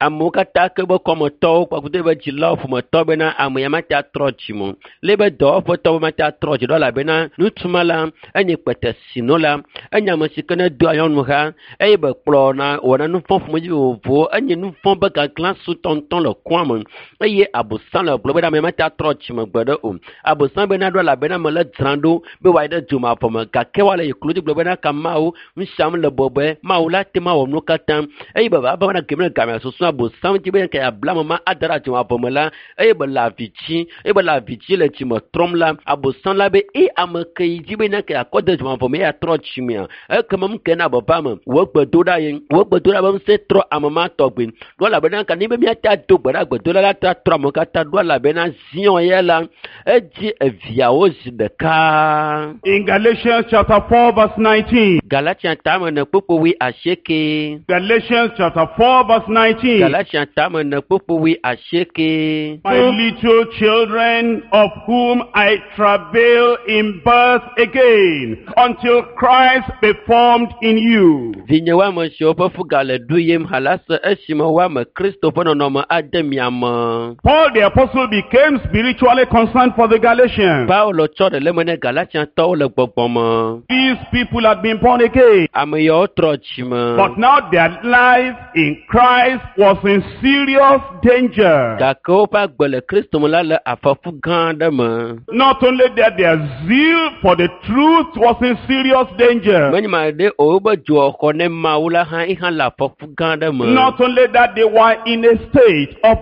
Amewo katã ke be kɔmetɔwo kpakple be dzilawo ƒometɔ bena ame ya mate atrɔ dzime o. Le be dɔwɔƒetɔwo mate atrɔ dzi ɖo elabena ŋutsu ma la enye kpetesinola, enye ame si ke ne doa nyɔnu ha eye be kplɔna wɔna nu vɔ̃ ƒomevi vovovowo. Enye nu vɔ̃ be gaglã sutɔŋutɔ le kɔa me eye abosam le gblɔ bena ame ya mate atrɔ dzime gbe ɖe o. Abosam bena ɖo elabena ame le dzram ɖo be wòayi ɖe dzomavɔ me gake woale yi klo dzi gblɔ bena ka Mawu nu siam le bɔbɔe Mawu la te ma wɔ nuwo katã eye be va bena geme game susu abosam dzi be ke abla ame ma ada ɖe dzomavɔ me la eye be le avi dzi eye be le avi dzi le dzime trɔm la abosam la be e ame ke yi dzi be ne ke akɔ de dzomavɔ me ya trɔ dzimea ekema nu ke na baba me wò gbedoɖa ye wò gbedoɖa be ŋusẽ trɔ ame ma tɔgbi ɖo elabena ka ne be míate ado gbe ɖa gbedoɖa la ta trɔ amewo katã ɖo elabena ziɔ ya la edzi eviawo zi ɖeka. In Galatians chapter 4 verse 19. Galatia tame ne kpokpo wui asieke. Galatians chapter 4 verse 19. Galatia tame ne kpokpo wui asieke. My little children, of whom I travail in birth again, until Christ be formed in you. Vinye woame siwo ƒe fu gale ɖu yim halase esime woame Kristo ƒe nɔnɔme ade mia me. Paul the apostle became spiritually concerned for the Galatians. Paulo tsɔ ɖe le eme ne Galatiatɔwo le gbɔgbɔ me. These people had been born again, Ame yawo trɔ dzime. but now their life in Christ was in serious danger. Gake woƒe agbe le Kristo me la le afɔku gã aɖe me. Not only that, their zeal for the truth was in serious danger. Menye ma ɖe o wobe dzoxɔxɔ ne Mawu la hã ihã le afɔku gã aɖe me. Not only that, they were in a state of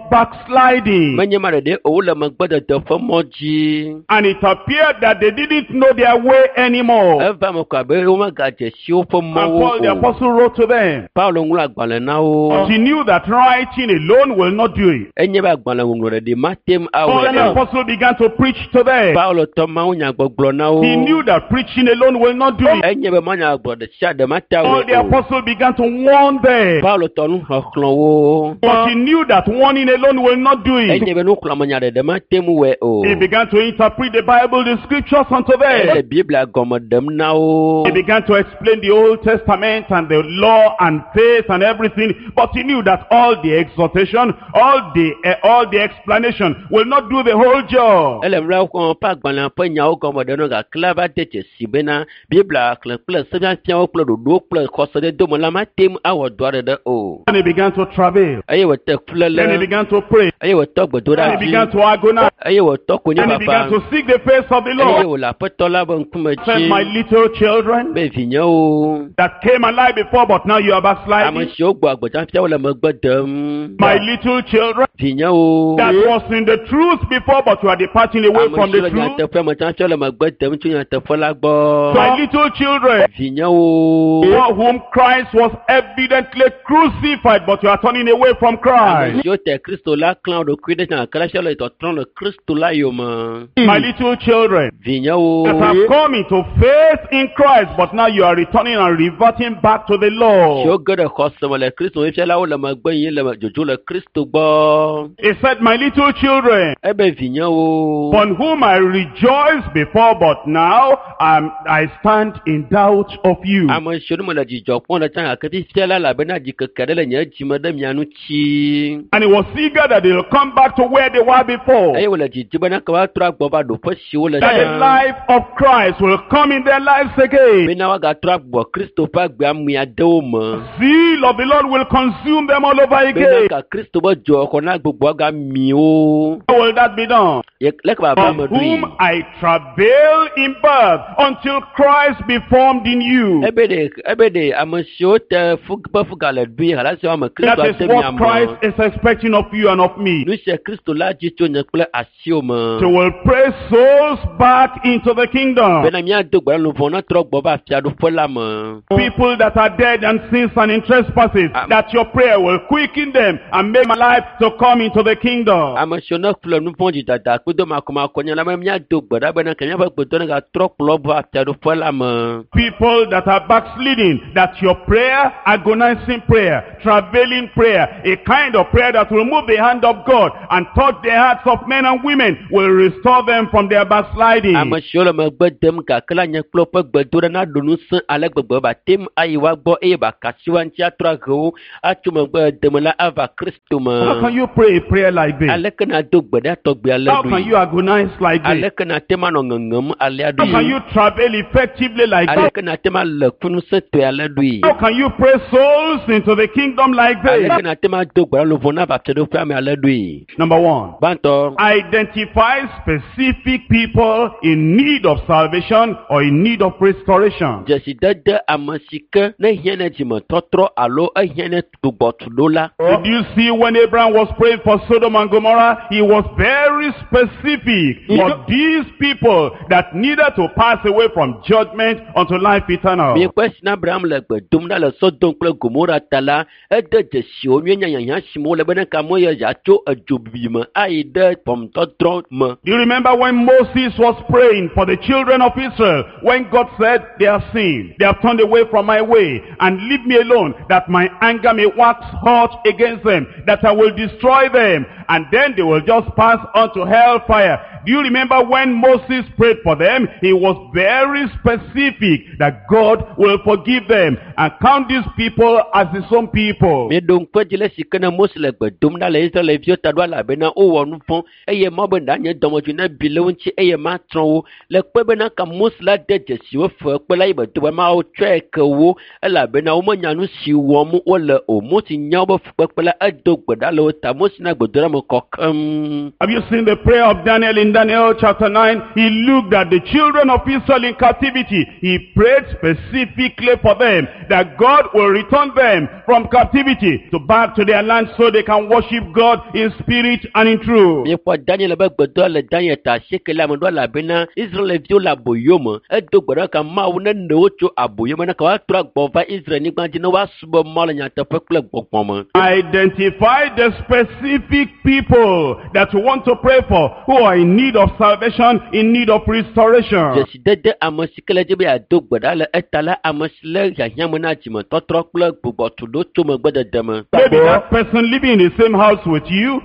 backsliding. Menye ma ɖeɖe o wole megbedede ƒe mɔ dzi. And it appeared that they didn't know their way anymore. Eva me ko abe womegadze si woƒe And mɔwo Paul the o. apostle wrote to them. Paulo ŋlɔ agbalẽ na wo. But he knew that writing alone will not do it. Enye be agbalẽ ŋɔŋlɔ ɖeɖi mate ŋu Paul awɔe the o. apostle began to preach to them. Paulo tɔ mawunyagbɔgblɔ na wo. He knew that preaching alone will not do it. Enye be mawunyagbɔgblɔ ɖe sia ɖe mate Paul the awɔe o. apostle began to warn them. Paulo tɔ nuxɔxlɔ̃ wo. But he knew that warning alone will not do it. Enye be nuxlɔ̃amenya ɖeɖe mate ŋu wɔe o. He began to interpret the Bible, the scriptures unto Ele them. Biblia gɔme ɖem na wo. He began to explain the Old Testament and the law and faith and everything. But he knew that all the exhortation, all the explanation will not do the whole job. Ele mla xɔ ƒe agbalẽ ƒe nyawo gɔme ɖem na wo gake la va de dzesi bena Biblia xlẽ kple sefiafiawo kple ɖoɖowo kple xɔseɖedome la mate ŋu awɔ dɔ aɖe o. And he began to travail. Eye wòte Then he fuléle, began to pray. eye wòtɔ gbedoɖa Then he dzi, began to agonize. eye wòtɔ Then he began konyifafa, to seek the face of the eye Lord. wòle Aƒetɔ la ƒe ŋkume Said, dzi my little children be vinyewo, that came alive before, but now you are ame backsliding. siwo gbɔ agbedzafia wole megbe dem, My little children vinyewo, that was in the truth before, but you are departing away ame from siwo the le truth. nyateƒe me tsã le megbe dem tso nyateƒe la gbɔ, My little children vinyewo, for whom Christ was evidently crucified, but you are turning away from ame Christ. siwo te Kristo la klã wo ɖokui ɖe gake la fia le tɔtrɔm le Kristo la yome, My little children vinyewo, that have come into faith in Christ, but now you are returning and reverting back to the siwo law. ge ɖe xɔse me le Kristo fia la wole megbe yim le dzodzo le Kristo gbɔ. He said, my little children, Ebe vinyewo, upon whom I rejoiced before, but now I stand in doubt of you. ame siwo nu mele dzidzɔ kpɔm le tsã gake fifia la elabena dzikeke ɖe le nye dzime ɖe mia ŋuti. And he was eager that they'll come back to where they were before. Eye wòle dzidzi bena ke woatrɔ agbɔ va ɖoƒe si wole That the tsã. life of Christ will come in their lives again. Bena woagatrɔ agbɔ Kristo ƒe agbea mia de wo me. Zeal of the Lord will consume them all over Bena again. ka Kristo ƒe dzoxɔ na gbogbo agami wo. How will that be done? Ye- Leke baba Of me ɖui. whom I travail in birth until Christ be formed in you. Ebe ɖe ebe ɖe ame siwo te fu ƒe fuga le ɖui halasi woame That Kristo is ade mia what me. Christ is expecting of you and of me. Nu sia Kristo la dzi tso nye kple asiwò me. To will pray souls back into the kingdom. Bena míado gbe ɖa luʋɔ netrɔ gbɔ va fiaɖuƒe la me. People that are dead and sins and in trespasses, that your prayer will quicken them and make my life to come into the kingdom. Ame siwo ne ƒle nu vɔ̃ dzidada kple makɔmakɔ la be míado gbe ɖa bena ke míaƒe gbedɔ ne gatrɔ kplɔ va fiaɖuƒe la me. People that are backsliding, that your prayer, agonizing prayer, travailing prayer, a kind of prayer that will move the hand of God and touch the hearts of men and women, will restore them from their backsliding. Ame siwo le megbe dem gake la nye kple woƒe gbedoɖa naɖo ŋusẽ ale gbegbe ba tem ayi woa gbɔ eye ba kasi woa ŋuti atrɔ ahe wo atso megbe deme la ava Kristo me. How can you pray a prayer like this? Aleke nàdo gbe ɖa tɔgbi ale How can ɖoe? you agonize like this? Aleke nàte ŋu anɔ ŋeŋem alea How can ɖoe? you travel effectively like this? Aleke nàte ŋu alé ŋusẽtɔe ale ɖoe? How can you pray souls into the kingdom like this? Aleke nàte ŋu ado gbe ɖa luʋɔ nava fiaɖuƒea me ale ɖoe? Number one, Gbãtɔ, identify specific people in need of salvation or in need of restoration. dzesidede ame si ke ne hiã ne dzimetɔtrɔ alo ehiã ne gbugbɔtuɖo la. Did you see when Abraham was praying for Sodom and Gomorrah? He was very specific for these people that needed to pass away from judgment unto life eternal. Miekpɔe si na Abraham le gbe dom ɖa le Sodom kple Gomora ta la, ede dzesi wo nyuie nyanyanya si me wole bena kamewo ya yeatso edzobibi me ayi ɖe ʋɔnudɔdrɔ̃ me. Do you remember when Moses was praying for the children of Israel? When God said, they have sinned, they have turned away from my way, and leave me alone, that my anger may wax hot against them, that I will destroy them, and then they will just pass on to hellfire. Do you remember when Moses prayed for them? He was very specific that God will forgive them and count these people as his own people. Mieɖo ŋku edzi le esi ke ne Mose le gbe dom ɖa le Israelviwo ta ɖo elabena wowɔ nu vɔ̃ eye Mawu be na nye dɔmedzoe ne bi le wo ŋuti eye matrɔ wo. Le kpe bena ka Mose la de dzesi wo fe kpe la yi be do be Mawu tsɔe ke wo elabena womenya nu si wɔm wole o. Mose nya wobe fukpekpe la edo gbe ɖa le wo ta. Mose na gbedoɖa me kɔ keŋ. Have you seen the prayer of Daniel in Daniel chapter 9? He looked at the children of Israel in captivity. He prayed specifically for them that God will return them from captivity to back to their land so they can worship God in spirit and in truth. Miekpɔ Daniel be gbedoa le Daniel ta asieke la me ɖo elabena Israelviwo le aboyo me. Edo gbe ɖa ka Mawu nene wo tso aboyo me ne ka woatrɔ agbɔ va Israel nyigba dzi ne woasubɔ Mawu le nyateƒe kple gbɔgbɔ me. Identify the specific people that you want to pray for who are in need of salvation, in need of restoration. Dzesidede ame si ke le dzi be yeado gbe ɖa le eta la ame si le hiahiã me na dzimetɔtrɔ kple gbugbɔtuɖo tso megbedede me. Maybe that person living in the same house with you,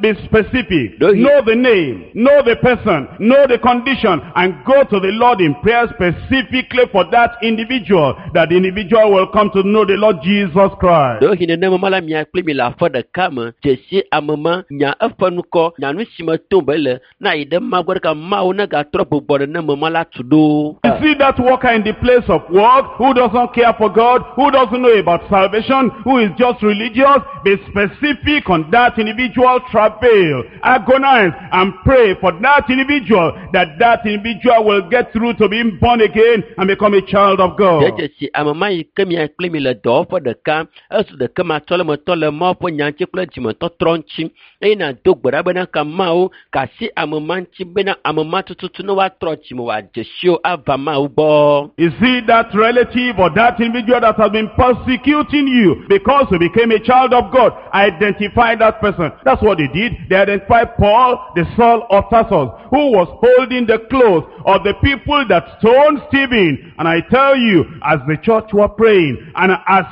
be specific. Know the name, know the person, know the condition, and go to the Lord in prayer specifically for that individual, that the individual will come to know the Lord Jesus Christ. Ɖewohĩ nenema la mia kpli mi le aƒe ɖeka me, dzesi ame ma, nya eƒe ŋkɔ, nya nu si me tom be le, na yi ɖe Mawu gbɔ ɖeka Mawu negatrɔ gbugbɔ nenema ma la tu ɖo. You see that worker in the place of work who doesn't care for God, who doesn't know about salvation, who is just religious, be specific on that individual, travail, agonize, and pray for that individual, that that individual will get through to being born again and become a child of God. Dzesi ame ma yi ke mia kpli mi le dɔwɔƒe ɖeka, esu ɖeke matsɔ le metɔ le Mawu ƒe nya ŋuti kple dzimetɔtrɔ ŋuti eye nàdo gbe ɖa bena ka Mawu kasi ame ma ŋuti bena ame ma tututu ne woatrɔ dzime wòadze si wo ava Mawu gbɔ. You see that relative or that individual that has been persecuting you because you became a child of God, identify that person. That's what they did. They identified Paul, the Saul of Tarsus, who was holding the clothes of the people that stoned Stephen. And I tell you, as the church were praying, and as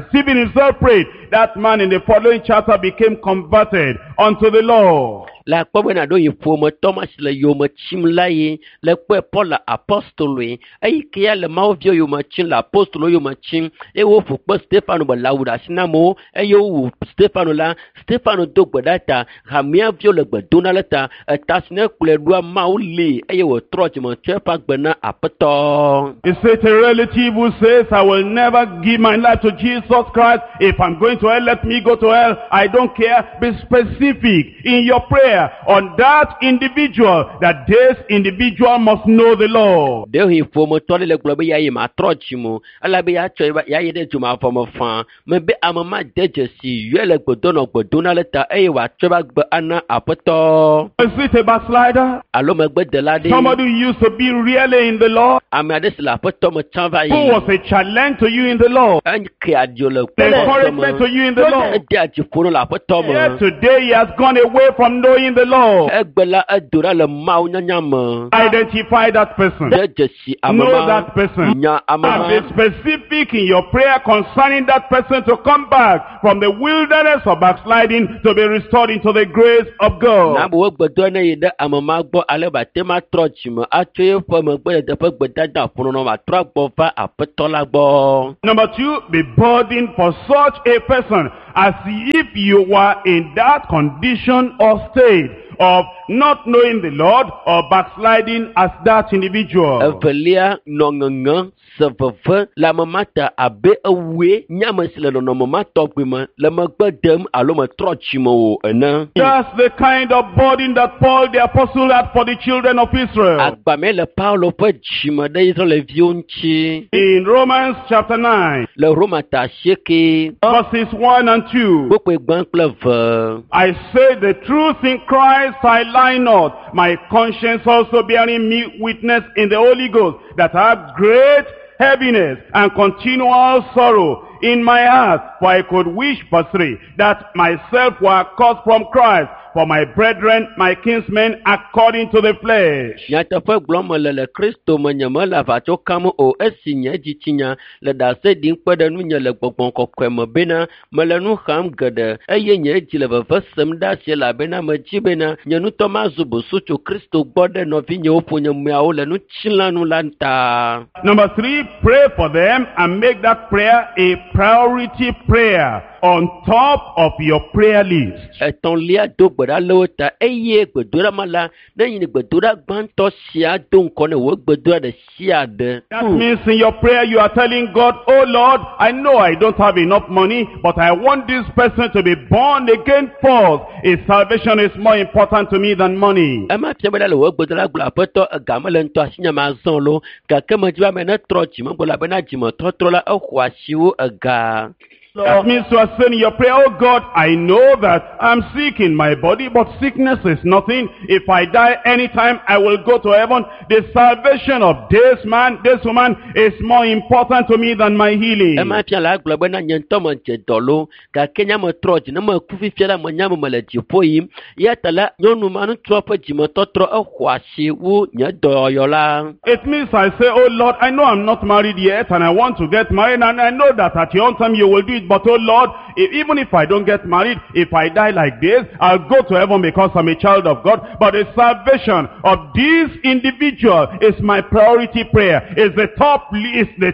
Stephen himself prayed, that man in the following chapter became converted unto the Lord. Le akpɔ bena ɖo yi ƒometɔ ma si le yome tsim la ye le kpɔe Paul apostoloe eyi ke ya le Mawu viwo yome tsim le apostolo yome tsim eye woƒo kpe Stefano be le awu ɖe asi na amewo eye wowu Stefano la Stefano do gbe ɖa ta hamea viwo le gbe dom ɖa le ta eta si ne kplɔe ɖoa Mawu li eye wòtrɔ dzime tsɔ eƒe agbe na Aƒetɔ. Is it a relative who says, I will never give my life to Jesus Christ. If I'm going to hell, let me go to hell. I don't care. Be specific in your prayer. prayer on that individual, that this individual must know the Lord. Ɖewohĩ ƒometɔ ɖe le gblɔ be ya yi matrɔ dzime o elabe ya tsɔ ya yi ɖe dzomavɔ me faa mebe ame ma de dzesi yɔe le gbedonɔ gbedona le ta eye wòatsɔ eƒe agbe ana aƒetɔ. Is it a backslider? Alo megbedela ɖe. Somebody who used to be really in the Lord, Ame aɖe si le aƒetɔ me tsã va who yi. was a challenge to you in the Lord, Eke adzo le an encouragement to me. you in the Lord. Ede adzi ƒo le aƒetɔ Yet me. today he has gone away from knowing the Lord. Egbe la edo ɖa le Mawu nyanya me. Identify that person. De dzesi ame Know ma. that person. Nya ame And ma. be specific in your prayer concerning that person to come back from the wilderness of backsliding to be restored into the grace of God. Na be gbedoa ne yi ɖe ame ma gbɔ ale be ate ma trɔ dzime atso eƒe megbedede ƒe gbedada ƒonɔnɔ wòatrɔ agbɔ va aƒetɔ la gbɔ. Number two, be burdened for such a person as if you were in that condition or state of not knowing the Lord or backsliding as that individual. Evelia nɔ ŋeŋe se veve le ame ma ta abe ewue nye ame si le nɔnɔme ma tɔgbi me le megbe dem alo metrɔ dzime o ene. That's the kind of burden that Paul the apostle had for the children of Israel. Agbame le Paulo ƒe dzime ɖe Israelviwo ŋuti In Romans chapter 9, le Roma ta 8 verses 1 and 2. kpukpui gbã kple eve. I say the truth in Christ, I lie not. My conscience also bearing me witness in the Holy Ghost that I have great heaviness and continual sorrow in my heart. For I could wish, verse 3, that myself were cut from Christ for my brethren, my kinsmen, according to the flesh. Nyateƒe gblɔm mele le Kristo me nye mele aʋatso kam o esi nye dzitsinya le ɖase ɖim kpe ɖe nunye le gbɔgbɔ kɔkɔe me bena mele nu xam geɖe eye nye dzi le veve sem ɖe asi elabena medzi bena nye ŋutɔ mazu busu tso Kristo gbɔ ɖe nɔvinyewo ƒonyemeawo le ŋutilãnu la ta. Number 3, pray for them and make that prayer a priority prayer on top of your prayer list. Etɔ̃lia do gbe ɖa le wo ta eye gbedoɖa ma la ne yi gbedoɖa gbãtɔ sia do ŋkɔ ne wò gbedoɖa ɖe sia ɖe. That means in your prayer you are telling God, oh Lord, I know I don't have enough money, but I want this person to be born again first. His salvation is more important to me than money. Ema fia be ɖa le wò gbedoɖa gblɔ aƒetɔ ega mele ŋutɔ asinye ma zɔ lo gake medzi be ame netrɔ dzime gbɔ elabena dzimetɔtrɔ la exɔ asi wu ega. That means you are saying in your prayer, oh God, I know that I'm sick in my body, but sickness is nothing. If I die anytime, I will go to heaven. The salvation of this man, this woman is more important to me than my healing. Ema fia la gblɔ bena nye ŋutɔ medze dɔ lo gake nye metrɔ dzi ne meku fifia la menya me mele dziƒo yim eya ta la nyɔnu ma ŋutsua ƒe dzimetɔtrɔ exɔ asi wu nye dɔyɔyɔ la. It means I say, oh Lord, I know I'm not married yet and I want to get married and I know that at your own time you will do it. But oh Lord, even if I don't get married, if I die like this, I'll go to heaven because I'm a child of God. But the salvation of this individual is my priority prayer. It's the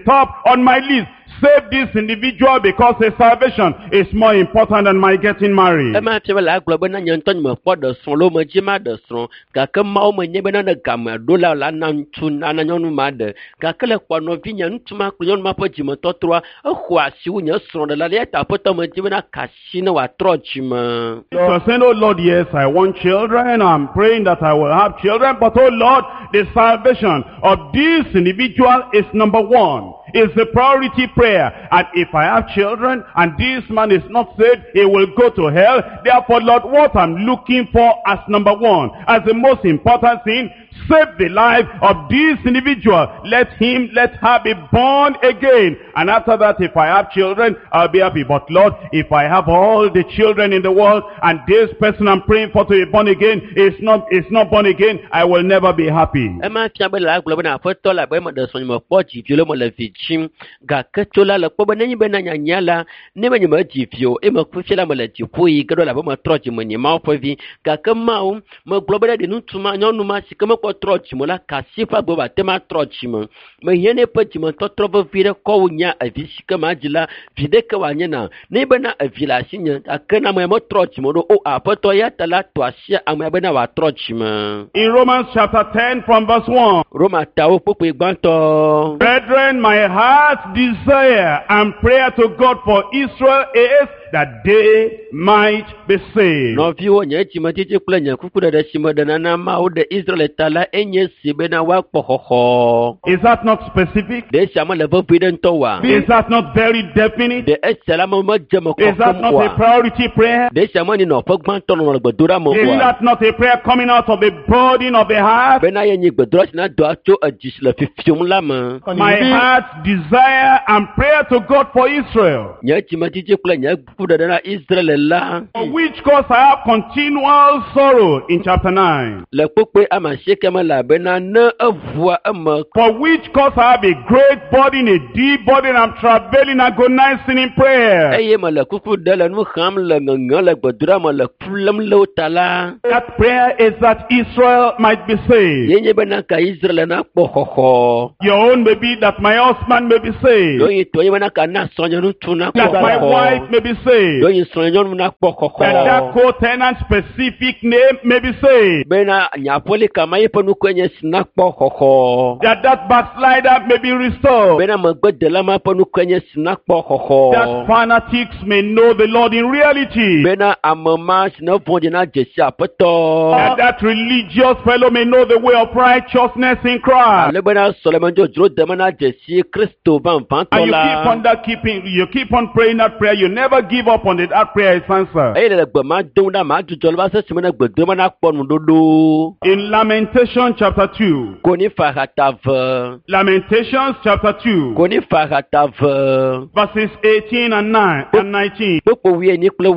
top on my list. Save this individual because his salvation is more important than my getting married. Ema fia be la gblɔ bena nye ŋutɔ nye mekpɔ ɖe srɔ̃ lo medzi ma ɖe srɔ̃ gake Mawu menye bena ne game ɖo la la na ŋutsu nana nyɔnu ma ɖe gake le kpɔ nɔvinye ŋutsu ma kple nyɔnu ma ƒe dzimetɔtrɔa exɔ asi wu nye srɔ̃ɖela eya ta aƒetɔ medzi bena ka asi ne wòatrɔ dzime. So saying, oh Lord, yes, I want children. I'm praying that I will have children. But oh Lord, the salvation of this individual is number one. It's the priority prayer. And if I have children and this man is not saved, he will go to hell. Therefore, Lord, what I'm looking for as number one, as the most important thing, save the life of this individual. Let him, let her be born again. And after that, if I have children, I'll be happy. But Lord, if I have all the children in the world and this person I'm praying for to be born again is not born again, I will never be happy. Ema fia be la gblɔ bena aƒetɔ la be meɖe srɔ̃ nye mekpɔ dzivi lo mele vi dzim gake tso la le kpɔ be nenye be na nyanya la ne be nye medzi vi o eye meku fia la mele dziƒo yi ge ɖo elabe metrɔ dzime nye Mawu ƒe vi gake Mawu megblɔ be ɖe ŋutsu ma nyɔnu ma si ke mekpɔ trɔ dzime la kasi ƒe agbe wòate ma trɔ dzime mehia ne eƒe dzimetɔtrɔ vevi ɖe kɔ wu nya evi si ke ma dzi la vi ɖeke wòanye na ne bena evi le asinye gake na ame ya metrɔ dzime ɖo o aƒetɔ ya ta la tɔ asi amea bena wòatrɔ dzime. In Romans chapter 10 from verse 1. Roma tawo kpukpui gbãtɔ. Brethren, my heart's desire and prayer to God for Israel is that they might be saved. Nɔviwo, nye dzimetiti kple nye kukuɖeɖe si meɖena na Mawu ɖe Israel ta la enye si bena woakpɔ xɔxɔ. Is that not specific? Ɖe esia mele vevi ɖe ŋutɔ oa? Is that not very definite? Ɖe esia la me medze me Is that kɔkɔm not a oa? priority prayer? Ɖe esia menye nɔƒe gbãtɔ nɔnɔ le gbedoɖa me Is oa? that not a prayer coming out of the burden of the heart? Bena ye nye gbedoɖa si na doa tso edzi si le fifiom la me. My heart's desire and prayer to God for Israel, Nye dzimetiti kple nye kukuɖeɖe na Israel la for which cause I have continual sorrow in chapter 9. le kpukpui ame asieke me elabena ne eʋua eme For which cause I have a great burden, a deep burden, I'm travailing, agonizing in prayer. eye mele kuku ɖe le nu xam le ŋeŋe le gbedoɖa me le ku lém le wo ta la That prayer is that Israel might be saved. ye nye bena ka Israel nakpɔ xɔxɔ. Your own may be that my husband may be saved, Ɖewohĩ tɔ nye bena ka na srɔ̃nye ŋutsu nakpɔ that my xɔxɔ. wife may be saved, Ɖewohĩ srɔ̃nye nyɔnu nakpɔ that that xɔxɔ. co-tenant specific name may be saved, Bena nye aƒelika ma yeƒe nukue nye si nakpɔ xɔxɔ. that that backslider may be restored, Bena megbedela ma ƒe nukue nye si nakpɔ xɔxɔ. that fanatics may know the Lord in reality, Bena ame ma si ne vɔ̃ɖi na dzesi aƒetɔ. that that religious fellow may know the way of righteousness in Christ. Ale bena sɔlemedzodzro deme na dzesi Kristo vavãtɔ And you keep la. on that keeping, you keep on praying that prayer. You never give up on it. That prayer is answered. Eye le gbe ma dom ɖa ma dzudzɔ le va se sime ne gbedome nakpɔ nuɖoɖo. In Lamentation chapter 2, Konifa hata ve. Lamentations chapter 2, Konifa hata ve. verses 18 and 9 and 19. Kpokpo wuienyi kple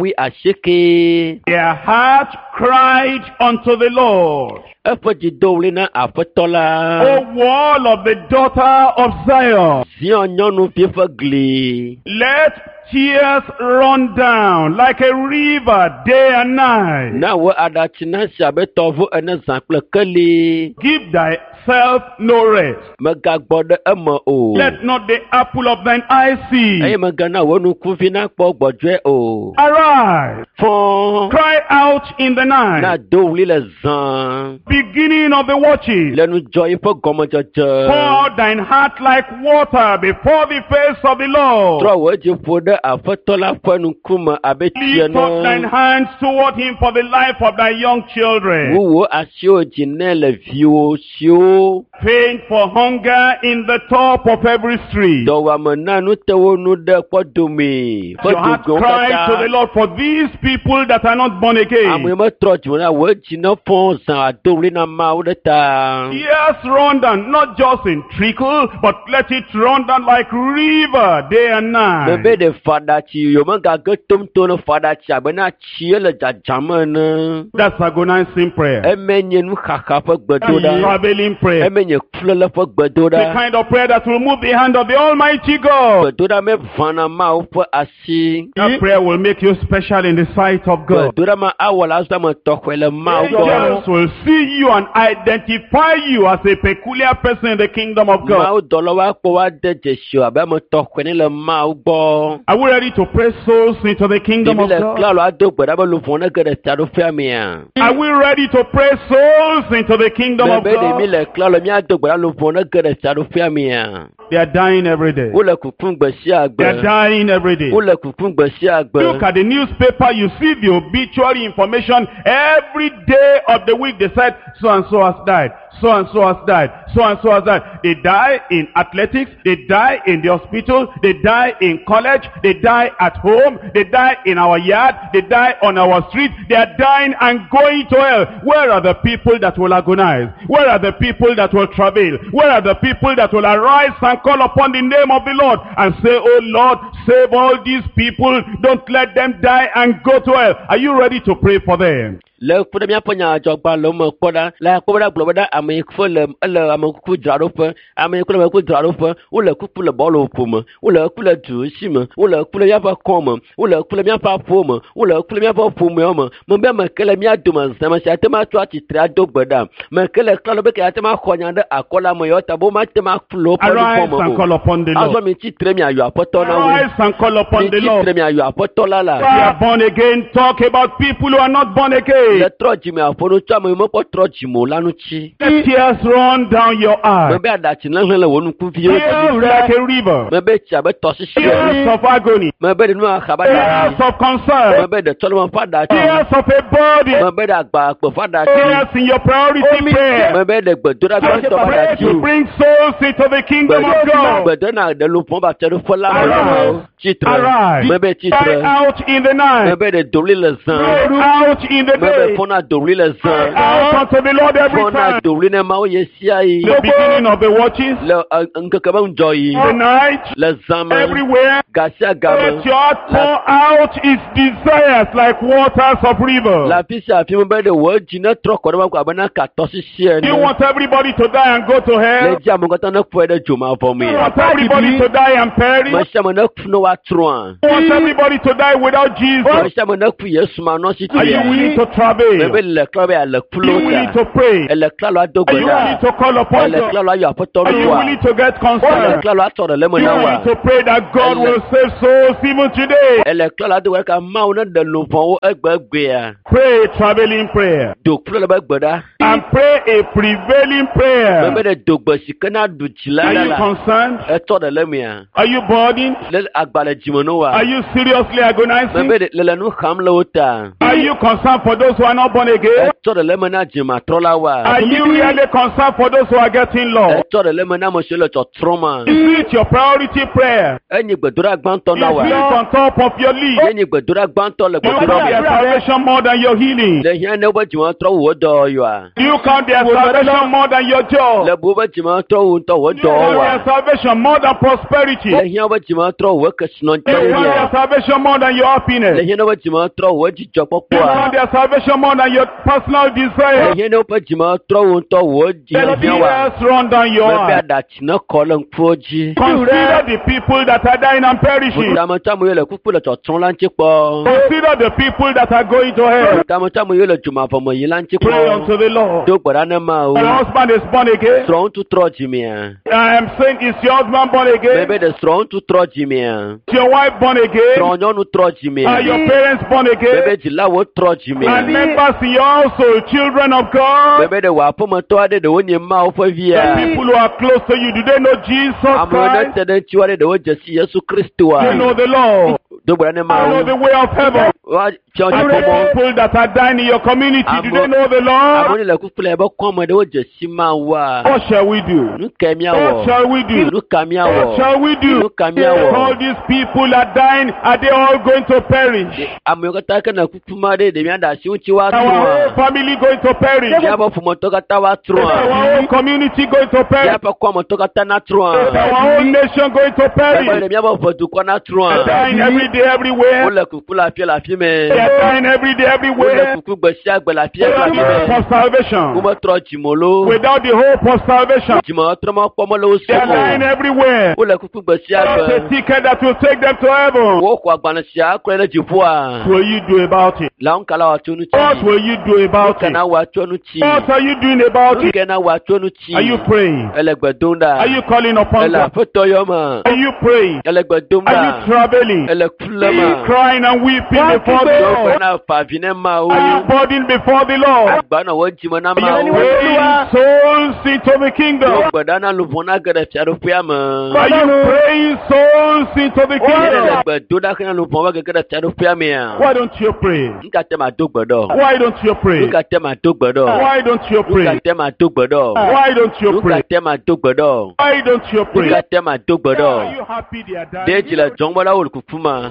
wuiasieke. Their heart cried unto the Lord. Eƒe dzi do ɣli na aƒetɔ la. O wall of the daughter of Zion, Zion nyɔnuvi ƒe gli. let tears run down like a river day and night. Na wò aɖatsi nasi abe tɔʋu ene zã kple keli. Give thyself no rest. Megagbɔ ɖe eme o. Let not the apple of thine eye see. Eye megana wò nukuvi nakpɔ gbɔdzɔe o. Arise, Fɔ. cry out in the Na night, do ɣli le zã. beginning of the watches. Le nudzɔɣi ƒe gɔmedzedze. Pour out thine heart like water before the face of the Lord. Trɔ wò dzi ƒo ɖe aƒetɔ la ƒe ŋkume abe tsi Lift up thine ene. hands toward him for the life of thy young children. Wu wò asiwò dzi nɛ le viwò siwo Faint for hunger in the top of every street. dɔwɔame na nu te wo nu ɖe kpɔdomee ƒe Your heart dogowo cries to the katã. Lord for these people that are not born Ame again. metrɔ dzime la wò dzi ne fɔ zã ado ɣli na Mawu ɖe ta. Tears run down, not just in trickle, but let it run down like river day and Mebe night. ɖe faɖatsi yomegage tomtom ne faɖatsi abe na tsie le dzadzam ene. That's agonizing prayer. Eme nye nuxaxa ƒe That's gbedoɖa. traveling prayer. Eme nye kulele ƒe The gbedoɖa. kind of prayer that will move the hand of the Almighty God. Gbedoɖa me ʋãna Mawu ƒe asi. That prayer will make you special in the sight of God. Gbedoɖa ma awɔ le azɔ ame tɔxɛ le Mawu gbɔ. Angels will see you and identify you as a peculiar person in the kingdom of God. Mawu dɔlawo akpɔ woade dzesi wo abe ame tɔxɛ ne le Mawu gbɔ. Are we ready to pray souls into the kingdom Ɖevi of le God? klalo ado gbe ɖa be luʋɔ ne ge ɖe taɖoƒea mea. Are we ready to pray souls into the kingdom of Mebe ɖe mi God? le klalo míado gbe ɖa luʋɔ ne ge ɖe taɖoƒea mea. They are dying every day. Wole kukum gbe sia They are gbe. dying every day. Wole kukum gbe sia gbe. Look at the newspaper, you see the obituary information every day of the week. They said, so and so has died, so and so has died, so and so has died. They die in athletics, they die in the hospital, they die in college, they die at home, they die in our yard, they die on our street. They are dying and going to hell. Where are the people that will agonize? Where are the people that will travail? Where are the people that will arise and call upon the name of the Lord and say, Oh Lord, save all these people. Don't let them die and go to hell. Are you ready to pray for them? Le ku ɖe míaƒe nyadzɔgbalẽwo me kpɔ ɖa le akpɔ be ɖa gblɔ be ɖa ame yi ke le ele amekuku dzraɖoƒe ame yi ke le amekuku dzraɖoƒe wole kuku le bɔlu ƒo me wole ku le du si me wole ku le míaƒe kɔ me wole ku le míaƒe aƒewo me wole ku le míaƒe ƒomewo me mebe ame ke le mía dome zã me sia ate ŋu atsɔ atsitre ado gbe ɖa me ke le klalo be ke ate ŋu axɔ nya ɖe akɔ le ame yawo ta be womate ŋu aku le woƒe Arise nuvɔ̃ and me o call upon the Lord. azɔ mi tsitre miayɔ aƒetɔ na wo Arise and call upon mi the Lord. tsitre miayɔ aƒetɔ la la We are born again. Talk about people who are not born again. today. Le trɔ dzime aƒo nu tso ame yiwo mekpɔ trɔ dzime o la ŋuti. Let tears run down your eyes. Mebe aɖatsi nehlẽ le wò ŋkuviwo dzi. Tears like a river. Mebe tsi abe tɔsisi ene. Tears of agony. Mebe ɖe nu axa be aɖatsi. Tears of concern. Mebe ɖe tsɔleme ƒe aɖatsi. Tears of a body. Mebe ɖe agbakpe ƒe aɖatsi. Tears in your priority prayer. Mebe ɖe gbedoɖa gbãtɔ ƒe Pray aɖatsi. to bring souls into the kingdom of God. Gbedona ɖe luʋɔ ba fiaɖuƒe la me Arise. tsitre. Arise. Mebe Cry tsitre. out in the night. Mebe ɖe dowli le zã. Cry out in the Mebe day. fɔna dowli le Cry zã. out unto the Lord every Fɔna time. dowli ne Mawu ye sia yi. The beginning of the watches, Le ŋkeke be ŋdzɔ yi. the night, Le zã me. everywhere. Gasia game. Let your heart pour out its desires like waters of Le river. afi sia afi mebe ɖe wò dzi ne trɔ kɔ ɖe Mawu abena ka tɔsisi Do you ene. want everybody to die and go to Le hell? dzi ame katã ne kpɔe ɖe dzomavɔ You me. want everybody to die and perish? Me sia ame ne ku ne woatrɔa. You want everybody to die without Me Jesus? sia ame ne ku Yesu manɔ si Are you tia. willing to travail? Mebe le klɔ be ale Are kulo you willing ta. to pray? Ele klɔ ado Are gbe you ɖa. willing to call upon Ele God? klɔ ayɔ aƒetɔ Are you ɖoa. willing to get Ele concerned? klɔ atɔ ɖe le me Are you na wa. willing to pray that God will save souls even today? Ele klɔ ado gbe ɖa ka Mawu ne ɖe luʋɔwo egbegbea. Pray a traveling prayer Do kplɔ le be gbe ɖa. and pray a prevailing prayer. Mebe ɖe do gbe si ke na ɖu dzi la Are ɖa you la. concerned? Etɔ ɖe le mea. Are you burdened? Le agbalẽ dzime no wa. Are you seriously agonizing? Mebe ɖe le le nu xam le wo ta. Are you concerned for those who are not born again? Etɔ ɖe le me na dzimatrɔla wa. Are you really concerned for those who are getting lost? Etɔ ɖe le me na ame siwo le tsɔtrɔm ma. Is it your priority prayer? Enyi gbedoɖa gbãtɔ Is na wa. it on top of your list? Enyi gbedoɖa gbãtɔ le Do you gbedoɖa count their me. salvation more than your healing? Le hiã ne wobe dzimatrɔ wu wo dɔwɔyɔa. Do you count their salvation more than your job? Le bu wobe dzimatrɔ wu ŋutɔ wo Do you count dɔwɔwɔa. their salvation more than prosperity? Le hiã wobe dzimatrɔ wu wo kesinɔtɔ Do you count nya. their salvation more than your Le happiness? hiã ne wobe dzimatrɔ wu wo Do you count dzidzɔkpɔkpɔa. their salvation more than your personal Le desire? hiã ne woƒe dzimatrɔ wu ŋutɔ wo Let dzihiã wa. tears run down your Mebe eyes. aɖatsi ne kɔ le ŋkuwo dzi. Consider the people that are dying and perishing. Tametɔ yiwo le kuku le tsɔtsrɔ̃ la ŋuti kpɔ. Consider the people that are going to hell. Tametɔ yiwo le dzomavɔ me yi la ŋuti Pray kpɔ. unto the Lord. Do gbe ɖa ne Mawu. Your husband is born again. Srɔ̃ŋutsu trɔ dzimea. I am saying, is your husband born again? Mebe ɖe srɔ̃ŋutsu trɔ dzimea. Is your wife born again? Srɔ̃nyɔnu trɔ Are dzimea. your parents born again? Mebe dzilawo trɔ dzimea. And members in your household, children of God, Mebe ɖe wò aƒemetɔ aɖe ɖewo nye Mawu ƒe the via. people who are close to you, do they know Jesus Amewo ne Christ? te ɖe ŋutiwò aɖe ɖewo dze si Yesu Kristoa. They know the Lord. Do gbe ɖa ne They know Mawu. the way of heaven. Woatsɔ The dziƒomɔ. people that are dying in your community, do they know the Amewo Lord? ne le kuku le ebe kɔme ɖewo dze si Mawua. What shall we do? Nu kae What míawɔ? shall we do? Nu ka What míawɔ? shall we do? Nu ka míawɔ? All these people are dying. Are they all going to perish? Amewo katã ke ne kuku ma ɖe ɖe míaɖe asi ŋuti Our whole woatrɔa. family going to perish? Míaƒe ƒometɔ katã Is woatrɔa. our whole community going to perish? Míaƒe kɔmetɔ katã Is natrɔa. our whole nation going to Mebe perish? ɖe míaƒe ʋedukɔ They are natrɔa. dying every day, everywhere. Wole kuku le afia le afi They me. are dying every day, Wole everywhere. kuku gbe sia gbe le afia le Without afi the hope me. of salvation. Wometrɔ dzime lo. Without the hope of salvation. Dzimetrɔ mekpɔ mele wo They are si dying o. everywhere. Wole kuku gbe sia Without gbe. a ticket that will take them to heaven. Woxɔ agbalẽ sia akplɔe ɖe dziƒoa. What will you do about it? La ŋu ka la wòatso nu What tsi? will you do Nu about ka it? na wòatso nu tsi? What are you doing about Nu it? ka na wòatso nu tsi? Are you praying? Ele gbe dom ɖa. Are you calling upon Ele God? aƒetɔ yɔ me. Are you praying? Ele gbe dom Are ɖa. you traveling? Ele ku le Are you me. crying and weeping before the Do gbe Lord? na fa vi ne Mawu. Are you burdened before the Lord? Agba nɔ wo dzime na Are you Mawu. praying souls into the Do kingdom? gbe ɖa na luʋɔ na ge ɖe fiaɖuƒea me. Are you praying souls into the Ye le kingdom? gbe do ɖa hena luʋɔ be gege ɖe fiaɖuƒea mea. Why don't you pray? Nu ka te ma do gbe ɖɔ? Why don't you pray? Nu ka te ma do gbe ɖɔ? Why don't you Nu ka pray? te ma do gbe ɖɔ? Why don't you Nu ka pray? te ma do gbe ɖɔ? Why don't you Nu pray? ka te ma do gbe ɖɔ? Are you happy they are Ɖe dying? dzi le dzɔm be la wole kuku ma.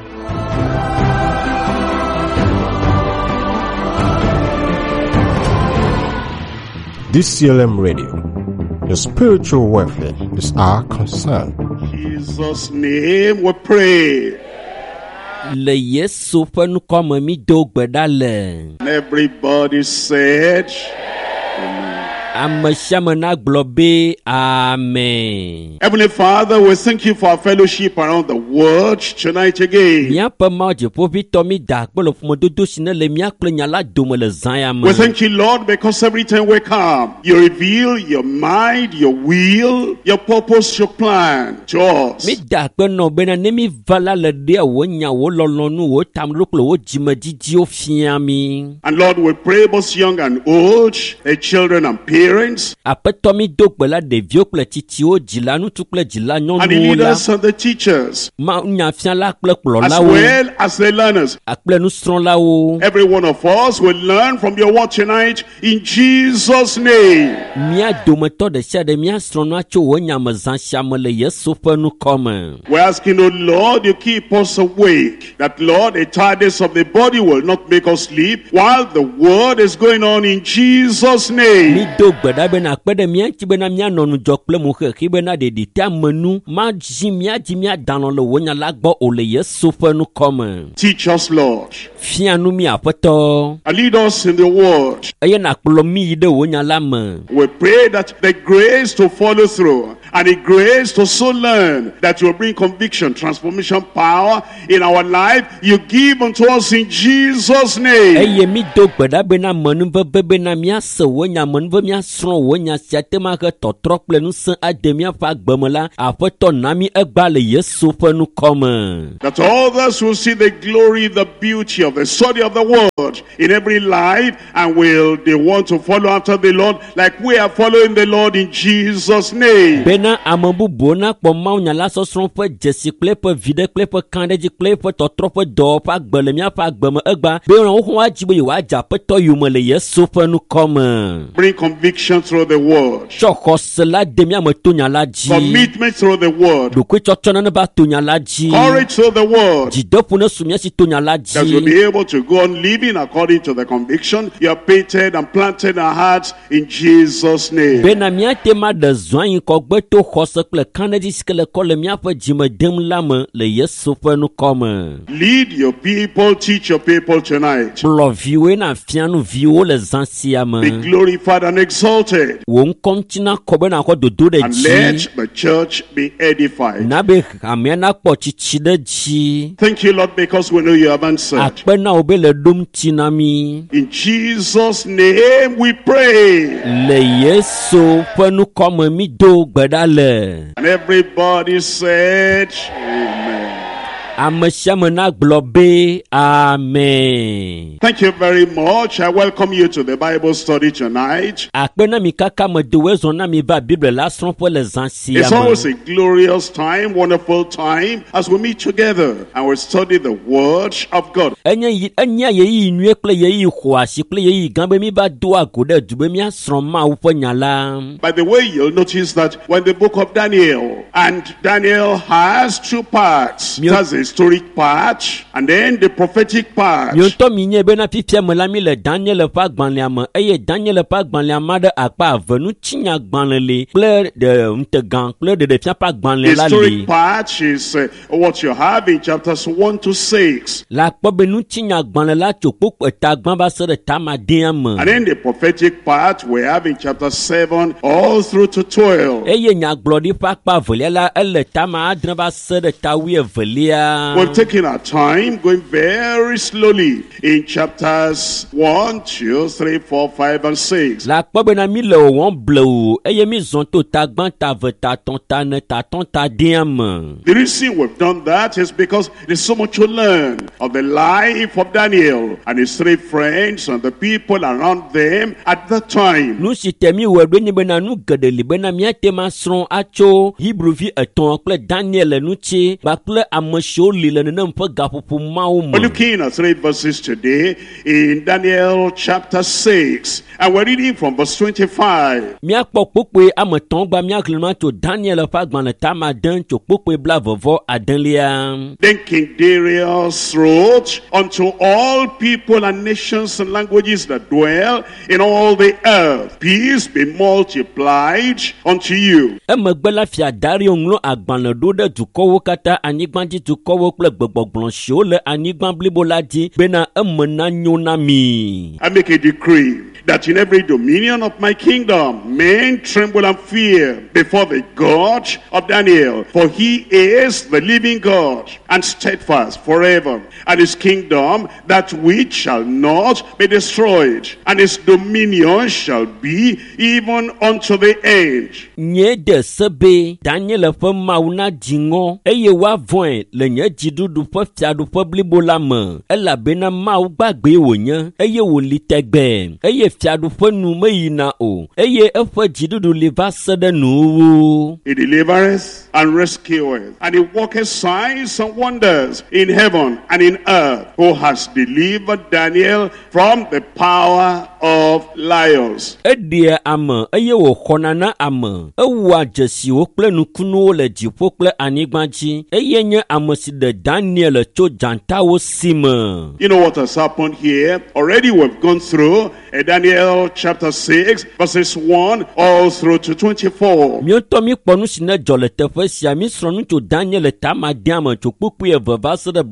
DCLM Radio. Your spiritual welfare is our concern. Jesus' name we pray. Le Yesu ƒe ŋkɔ me mi do gbe ɖa le. And everybody said, Amen. Ame sia ame nagblɔ be amen. Heavenly Father, we thank you for our fellowship around the world tonight again. Míaƒe Mawu dziƒoʋĩtɔ mi da akpe le ƒomedodo si ne le mía kple nya la dome le zã ya me. We thank you, Lord, because every time we come, you reveal your mind, your will, your purpose, your plan to us. Mi da akpe nɔ bena ne mi va la le ɖea wò nya, wò lɔlɔ̃nu, wò tameɖoɖo kple wò dzimedidiwo fia mi. And Lord, we pray both young and old, the children and parents, Aƒetɔ mi do gbe la ɖeviwo kple tsitsiwo, dzila ŋutsu kple dzila and the nyɔnuwo la, leaders and the teachers, ma nyafiala kple as kplɔlawo well as the learners. kple nusrɔ̃lawo. Every one of us will learn from your word tonight in Jesus' name. Mía dometɔ ɖe sia ɖe míasrɔ̃ nua tso wò nya me zã sia me le Yesu ƒe ŋkɔ me. We're asking, O Lord, you keep us awake. That, Lord, the tiredness of the body will not make us sleep while the word is going on in Jesus' name. Mi do gbe ɖa bena akpe ɖe mía ŋuti bena míanɔ ŋudzɔ kple mo xexi bena ɖeɖi te ame nu madzi mía dzi míada lɔ le wò nya la gbɔ o le Yesu ƒe ŋkɔ me. Teach us, Lord, Fia nu mí Aƒetɔ and lead us in the word. eye nàkplɔ mí yi ɖe wò nya la me. We pray that the grace to follow through and the grace to so learn that will bring conviction, transformation, power in our life, you give unto us in Jesus' name. Eye mi do gbe ɖa bena amenuveve bena míase wò nya, amenuveve míasrɔ̃ wò nya sia te ma he tɔtrɔ kple ŋusẽ ade míaƒe agbe me la, Aƒetɔ na mí egbea le Yesu ƒe ŋkɔ me. That others will see the glory, the beauty of the study of the word in every life, and will they want to follow after the Lord like we are following the Lord in Jesus' name. Bena ame bubuwo nakpɔ mawunya la sɔsrɔ̃ ƒe dzesi kple eƒe viɖe kple eƒe kãɖedzi kple eƒe tɔtrɔ ƒe dɔwɔƒe agbe le míaƒe agbe me egbea be woawo woadzi be yewoadze Aƒetɔ yome le Yesu ƒe ŋkɔ me. Bring conviction through the word, Tsɔ xɔse la de mía me to nya la dzi. commitment through the word, Ɖokuitsɔtsɔ nane va to nya la dzi. courage through the word. Dzideƒo ne su mía si to nya la That we'll dzi. be able to go on living according to the conviction you have painted and planted in our hearts in Jesus' name. Bena míate ma ɖe zɔ anyi kɔgbe to xɔse kple kãɖedzi si ke le kɔ le míaƒe dzime dem la me le Yesu ƒe ŋkɔ me. Lead your people, teach your people tonight. Kplɔ viwoe na fia nu viwo le zã sia Be me. glorified and exalted. Wò ŋkɔ ŋuti nakɔ be nàxɔ dodo ɖe And dzi. let the church be edified. Na be hamea nakpɔ tsitsi ɖe dzi. Thank you, Lord, because we know you have answered. Akpe na wò be le ɖom ŋuti na mí. In Jesus' name we pray. Le Yesu ƒe ŋkɔ me mi do gbe ɖa le. And everybody said, Amen. Ame sia ame nagblɔ be amen. Thank you very much. I welcome you to the Bible study tonight. Akpe na mi kaka me do zɔ na mi va Biblia la srɔ̃ƒe le zã sia It's me. always a glorious time, wonderful time, as we meet together and we study the Word of God. Enye yi enye ɣeyiɣi nyuie kple ɣeyiɣi xɔasi kple ɣeyiɣi gã be mi va doa go ɖe du be míasrɔ̃ Mawu ƒe nya la. By the way, you'll notice that when the book of Daniel, and Daniel has two parts. It has the historic part and then the prophetic part. Miwo ŋutɔ mi nye bena fifia me la mi le Daniel ƒe agbalẽa me eye Daniel ƒe agbalẽa ma ɖe akpa eve ŋutinyagbalẽ li kple ɖe ŋutegã kple ɖeɖefia ƒe The agbalẽ la li. historic part is what you have in chapters 1 to 6. Le akpɔ be ŋutinyagbalẽ la tso kpokpo eta gbã va se ɖe tamadea me. And then the prophetic part we have in chapter 7 all through to 12. Eye nyagblɔɖi ƒe akpa evelia la ele tama adre va se ɖe ta wuievelia. We've taken our time going very slowly in chapters 1, 2, 3, 4, 5, and 6. Le akpɔ bena mi le wɔwɔm blewu eye mi zɔn to ta gbã, ta eve, ta tɔn, ta ene, ta tɔn, ta dea me. The reason we've done that is because there's so much to learn of the life of Daniel and his three friends and the people around them at that time. Nu si te mi wɔ ɖo nye bena nu geɖe li bena míate ma srɔ̃ atso Hebruvi etɔ̃ kple Daniel ŋuti kpakple ame siwo li le nenem ƒe gaƒoƒo mawo We're me. looking at three verses today in Daniel chapter 6, and we're reading from verse 25. Míakpɔ kpokpoe ame etɔ̃ gba míaxlẽ ma tso Daniel ƒe agbalẽ tama ade tso kpokpoe blaeve adelia. Then King Darius wrote unto all people and nations and languages that dwell in all the earth, peace be multiplied unto you. Emegbe la fia Dario ŋlɔ agbalẽ ɖo ɖe dukɔwo katã, anyigbadzidukɔwo dukɔwo kple gbegbɔgblɔ siwo le anyigba blibo la dzi bena eme nanyo na mi. I make a decree that in every dominion of my kingdom men tremble and fear before the God of Daniel, for he is the living God and steadfast forever, and his kingdom that which shall not be destroyed, and his dominion shall be even unto the end. Nye de se be Daniel ƒe Mawu nadzi ŋɔ eye woavɔ̃e le nye dziɖuɖu ƒe fiaɖuƒe blibo la me elabena Mawu gbagbee wònye eye wòli tɛgbɛɛ eye fiaɖuƒe nu meyina o eye eƒe dziɖuɖu li va se ɖe nuwuwu. He delivereth and rescueth, and he worketh signs and wonders in heaven and in earth, who has delivered Daniel from the power of lions. Eɖea ame eye wòxɔna na ame. Ewɔa dzesiwo kple nukunuwo le dziƒo kple anyigba dzi eye nye ame si ɖe Daniel tso dzatawo si me. You know what has happened here? Already we've gone through Daniel chapter 6, verses 1 all through to 24. Míetɔ míkpɔ nu si ne dzɔ le teƒe sia mísrɔ̃ nu tso Daniel tamadea me tso kpukpui eve va se ɖe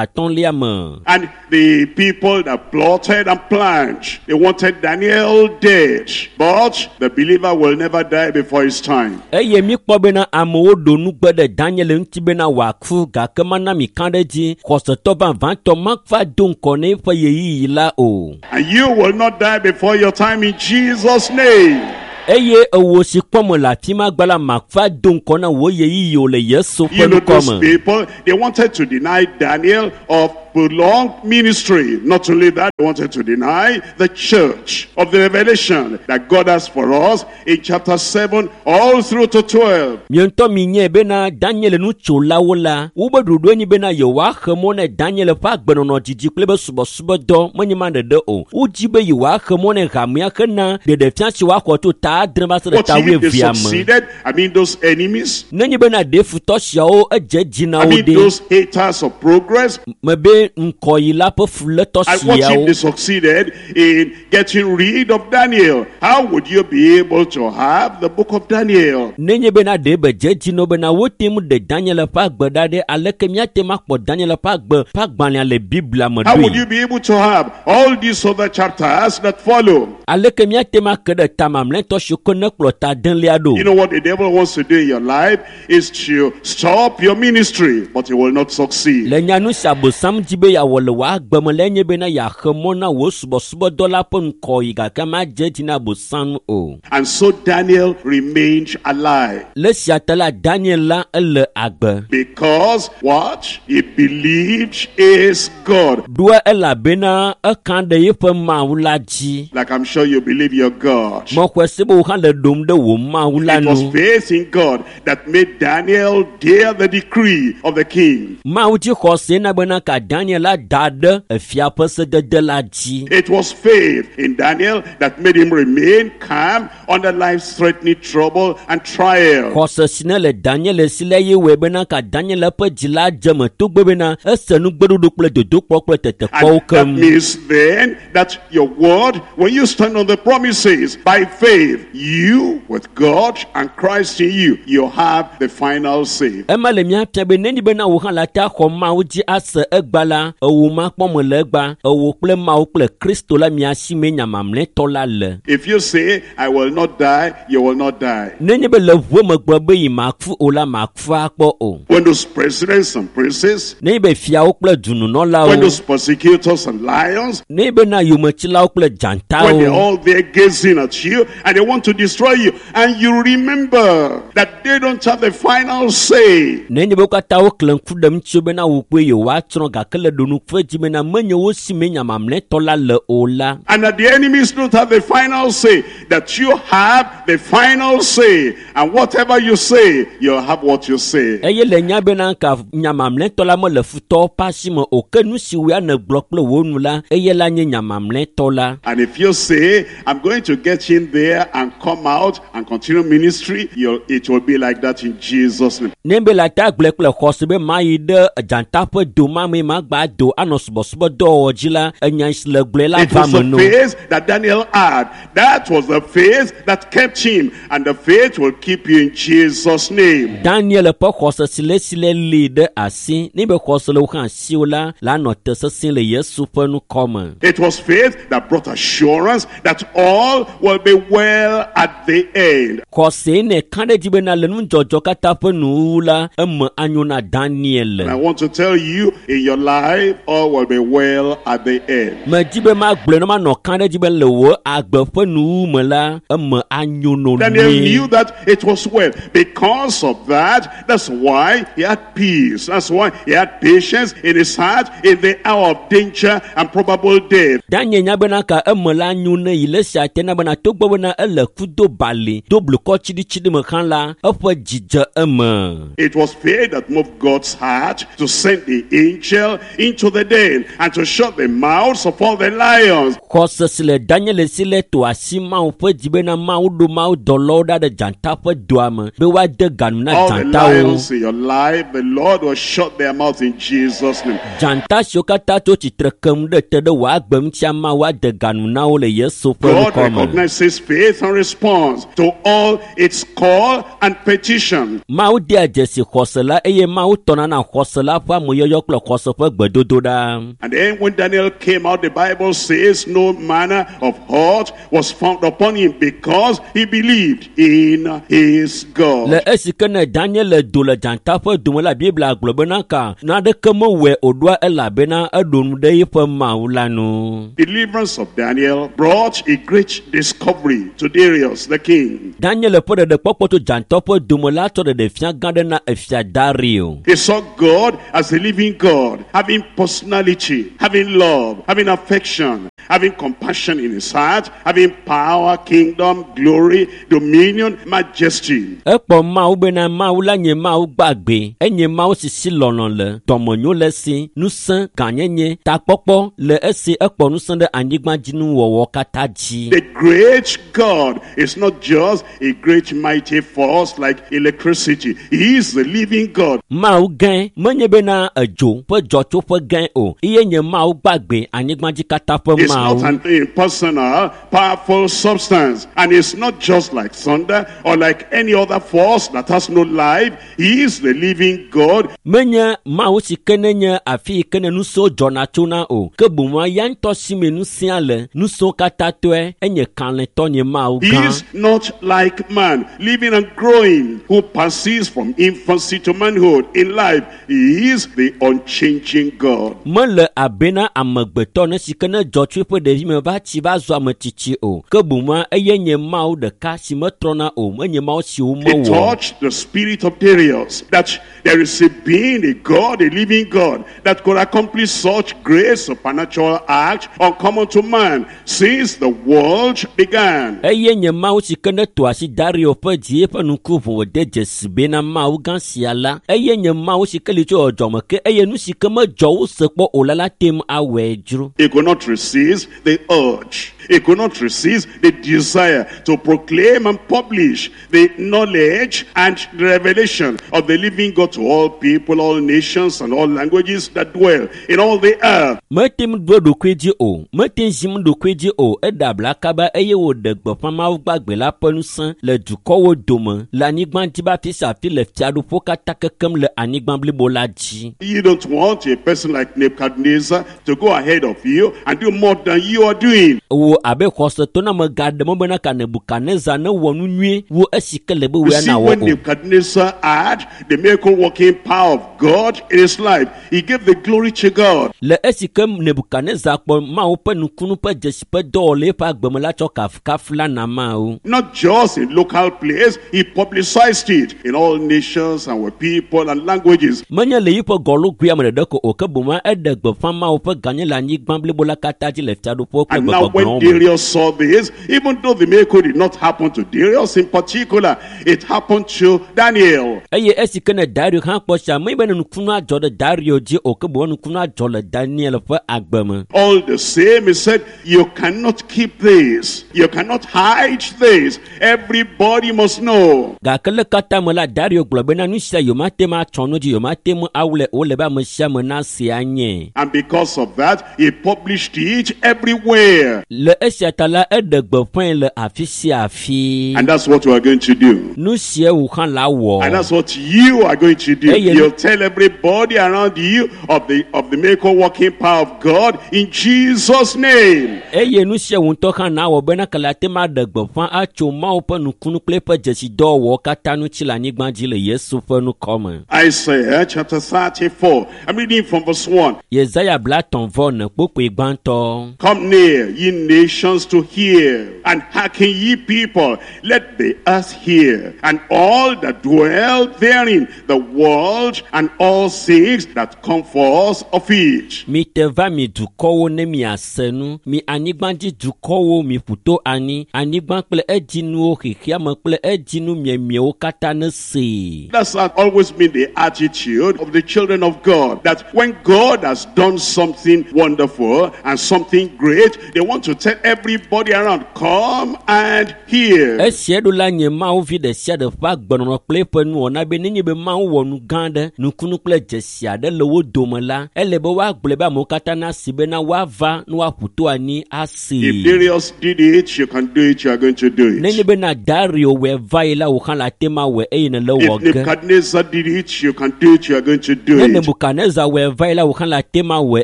33 me. And the people that plotted and planned, they wanted Daniel dead. But the believer will never die before his time. Eye míkpɔ bena amewo ɖo nugbe ɖe Daniel ŋuti bena wòaku gake mana mi ka ɖe edzi xɔsetɔ vavãtɔ mava do ŋkɔ na eƒe ɣeyiɣi la o. And you will not die before your time in Jesus' name. Eye ewo si kpɔm le afi ma gba la mava do ŋkɔ na wò ɣeyiɣi o le Yesu ƒe You know ŋkɔ those me. people, they wanted to deny Daniel of prolonged ministry. Not only that, they wanted to deny the church of the revelation that God has for us in chapter 7 all through to 12. Mia ŋutɔ minyae bena Daniel nutsolawo la, wobe ɖoɖoe nyi bena yewoaxe mɔ na Daniel ƒe agbenɔnɔ didi kple eƒe subɔsubɔdɔ menye ma ɖeɖe o. Wodzi be yewoaxe mɔ na hamea hena ɖeɖefia si woaxɔ tso ta adre va se ɖe What ta if they wuievea me. succeeded? I mean those enemies. Nenye bena ɖe futɔ siawo edze dzi na I wo mean ɖe those haters of progress. mebe ŋkɔyila ƒe fulétɔ And what if siawo. they succeeded in getting rid of Daniel? How would you be able to have the book of Daniel? Nenye bena ɖe be dze dzi na wo bena wote ŋu ɖe Daniel ƒe agbe ɖa ɖe aleke míate ŋu akpɔ Daniel ƒe agbe ƒe agbalẽa le Biblia me How would ɖoe? you be able to have all these other chapters that follow? Aleke míate ŋu ake ɖe ta mamlɛtɔ siwo ke ne kplɔ ta adelia ɖo? You know what the devil wants to do in your life is to stop your ministry, but he will not succeed. Le nyanu si Abosam dzi be yeawɔ le wò agbe me lae nye bena yeaxe mɔ na wò subɔsubɔdɔ la ƒe ŋkɔyi gake madze edzi na Abosam o. And so Daniel remained alive. Le esia ta la Daniel la ele agbe. Because what? He believed is God. Ɖoa elabena eka ɖe eƒe Mawu la dzi. Like I'm sure you believe your God. Mexɔe se be wò hã le ɖom ɖe wò Mawu la It was nu. faith in God that made Daniel dare the decree of the king. Mawu dzi xɔse na bena ka Daniel la da ɖe efia ƒe sedede la dzi. It was faith in Daniel that made him remain calm under life-threatening trouble and trial. Xɔse si ne le Daniel si la ye wɔe bena ka Daniel ƒe dzi la dze me togbe bena ese nugbeɖoɖo kple dodokpɔ kple And tetekpɔwo that keŋ. means then that your word, when you stand on the promises by faith, you with God and Christ in you, you have the final say. Ema le mía fia be nenye bena wò hã la te axɔ Mawu dzi ase egba la, ewò makpɔ me le egba, ewò kple Mawu kple Kristo la mia si mee nya mamlɛtɔ la le. If you say, I will not die, you will not die. Nenye be le ʋue me gblɔ be yi maku o la, maku akpɔ o. When those presidents and princes, Nenye be fiawo kple when dununɔlawo, those persecutors and lions, nenye bena yometsilawo kple when they're dzatawo, all there gazing at you and they want to destroy you, and you remember that they don't have the final say. nenye be wo katã woklẽ ŋku ɖe ŋutiwo bena wò kpoe yewoatsrɔ̃ gake le ɖonuƒe dzi bena menye wo si mee nya mamlɛtɔ la le o la. And that the enemies don't have the final say, that you have the final say. And whatever you say, you'll have what you say. Eye le nya bena ka nya mamlɛtɔ la mele futɔwo ƒe asi me o ke nu si woa nègblɔ kple wò nu la eye la nye nya mamlɛtɔ la. And if you say, I'm going to get in there and come out and continue ministry, it will be like that in Jesus' name. Ne be le ata gblɔe kple xɔse be mayi ɖe dzata ƒe doma me magba agba do anɔ subɔsubɔdɔwɔwɔ dzi la enya si le gblɔe la It va was me the no. faith that Daniel had. That was the faith that kept him. And the faith will keep you in Jesus' name. Daniel ƒe xɔse si le esi le li ɖe asi ne be xɔse le wo hã asiwò la la nɔ te sesĩe le Yesu ƒe ŋkɔ me. It was faith that brought assurance that all will be well at the end. Xɔsee ne ka ɖe dzi bena le nudzɔdzɔ katã ƒe nuwuwu la eme anyo na Daniel. And I want to tell you, in your life, all will be well at the end. Medzi be magblɔe ne manɔ ka ɖe dzi be le wò agbe ƒe nuwuwu me la eme anyo no Daniel nyuie. knew that it was well. Because of that, that's why he had peace. That's why he had patience in his heart in the hour of danger and probable death. Daniel nya bena ka eme la nyo ne yi le sia te na bena togbɔ bena ele ku do bali do blukɔ tsiɖitsiɖi me hã la eƒe dzi dze eme. It was faith that moved God's heart to send the angel into the den and to shut the mouths of all the lions. Xɔse si le Daniel si le to asi Mawu ƒe dzi bena Mawu ɖo Mawu dɔlawo ɖa ɖe dzata ƒe doa me be woade ganu na All the dzatawo. lions in your life, the Lord will shut their mouths in Jesus' name. Dzata siwo katã tso tsitre kem ɖe te ɖe wò agbe ŋutia Mawu ade ganu na wo le Yesu ƒe God ŋkɔ me. recognizes faith and responds to all its call and petition. Mawu dea dzesi xɔse la eye Mawu tɔna na xɔse la ƒe ameyɔyɔ kple xɔse ƒe gbedodoɖa. And then when Daniel came out, the Bible says no manner of hurt was found upon him because he believed in his God. Le esi ke ne Daniel do le dzata ƒe dome la Biblia gblɔ bena ka naneke mewɔe o ɖoa elabena eɖo nu ɖe eƒe Mawu la nu. Deliverance of Daniel brought a great discovery to Darius the king. Daniel ƒe ɖeɖekpɔkpɔ tso dzata ƒe dome la tsɔ ɖeɖefia gã ɖe na efia Dario. He saw God as a living God, having personality, having love, having affection, having compassion in his heart, having power, kingdom, glory, dominion, majesty. Ekpɔ Mawu bena Mawu la nye Mawu gbagbe, enye Mawu si si lɔlɔ̃ le, dɔmenyo le esi, ŋusẽ, gãnyenye, takpɔkpɔ le esi ekpɔ ŋusẽ ɖe anyigbadzinuwɔwɔ katã dzi. The great God is not just a great mighty force like electricity. He is the living God. Mawu gãe menye bena edzo ƒe dzɔtsoƒe gãe o, eye nye Mawu gbagbe anyigbadzi katã ƒe It's not Mawu. an impersonal, powerful substance. And it's not just like thunder or like any other force that has no life. He is the living God. Menye Mawu si ke ne nye afi yi ke ne ŋusẽwo dzɔna tsona o, ke boŋua ya ŋutɔ si me ŋusẽa le, ŋusẽwo katã tɔe, enye kalẽtɔ nye Mawu He gã. is not like man, living and growing, who passes from infancy to manhood in life. He is the unchanging God. Mele abe na amegbetɔ ne si ke ne dzɔ tso eƒe ɖevime va tsi va zu ame tsitsi o, ke boŋua eye nye Mawu ɖeka si metrɔna o, menye Mawu si It womewɔ. touched the spirit of Darius that there is a being, a God, a living God, that could accomplish such great supernatural act uncommon to man since the world began. Eye nye Mawu si ke ne to asi Dario ƒe dzi eƒe ŋku ʋu wòde dzesi bena Mawu gã sia la, eye nye Mawu si ke li tso dzɔdzɔme ke eye nu si ke medzɔ wose kpɔ o la la te ŋu awɔe dzro. He could not resist the urge. He could not resist the desire to proclaim and publish the knowledge and the revelation of the living God to all people, all nations, and all languages that dwell in all the earth. Mete ŋu ɖo eɖokui dzi o, mete ŋu zim ɖokui dzi o, eɖe abla kaba eye wòɖe gbeƒã Mawu gbagbe la ƒe ŋusẽ le dukɔwo dome, le anyigba dzi be afi sia afi le fiaɖuƒewo katã kekem le anyigba blibo la dzi. You don't want a person like Nebuchadnezzar to go ahead of you and do more than you are doing. Wò abe xɔsetoname gaɖe mɔ bena ka Nebukadnezar ne wɔ nu nyuie wu esi ke le be You wòya see, nawɔ when o. Nebuchadnezzar had the miracle working power of God in his life, he gave the glory to God. Le esi ke Nebukadnezar kpɔ Mawu ƒe nukunu ƒe dzesi ƒe dɔwɔ le eƒe agbe me la tsɔ kafukafu la na Mawu. Not just in local place, he publicized it in all nations and with people and languages. Menye le yiƒe gɔlugui me ɖeɖe ko o, ke boŋ eɖe gbeƒã Mawu ƒe gãnye le anyigba blibo la katã dzi le le fiaɖuƒewo kple And now when gbegbɔgblɔwo me. Darius saw this, even though the miracle did not happen to Darius in particular, it happened to Daniel. Eye esi ke ne Dario hã kpɔ sia, menye be ne nukunu adzɔ ɖe Dario dzi o, ke boŋ nukunu adzɔ le Daniel ƒe agbe me. All the same, he said, you cannot keep this. You cannot hide this. Everybody must know. Gake le katã me la, Dario gblɔ bena nu sia yewomate ŋu atsɔ nu dzi, yewomate ŋu awlɛ o, ele be ame sia ame nase anye. And because of that, he published it everywhere. Le esia ta la, eɖe gbeƒãe le afi sia afi. And that's what we are going to do. Nu sia wò hã la wɔ. And that's what you are going to do. Hey, you- You'll tell everybody around you of the miracle working power of God in Jesus' name. Eye nu sia wò ŋutɔ hã na wɔ bena kele ate ŋu aɖe gbeƒã atso Mawu ƒe nukunu kple eƒe dzesidɔwɔwɔwo katã ŋuti le anyigba dzi le Yesu ƒe ŋkɔ me. Isaiah chapter 34. I'm reading from verse 1. Yesaya 34 kpukpui gbãtɔ. Come near, ye nations, to hear, and hearken, ye people. Let the earth hear, and all that dwell therein, the world, and all things that come forth of it. Mi te va mi dukɔwo ne miase nu, mi anyigbadzi dukɔwo mi ƒu to anyi, anyigba kple edzinuwo xexeame kple edzinu miemiewo katã ne see. That's always been the attitude of the children of God, that when God has done something wonderful and something great, they want to tell everybody around, come and hear. Esia ɖo la nye Mawu vi ɖe sia ɖe ƒe agbenɔnɔ kple eƒe nuwɔna be nenye be Mawu wɔ nu gã aɖe, nukunu kple dzesi aɖe le wo dome la, ele be woagblɔe be amewo katã nasi bena woava ne woaƒu to anyi asee. If Darius did it, you can do it, you are going to do Nenye it. bena Dario wɔe va yi la, wò hã le ate ŋu awɔe eye nèle If wɔ ge. Nebuchadnezzar did it, you can do it, you are going to do Ne it. Nebukadnezar wɔe va yi la, wò hã le ate ŋu awɔe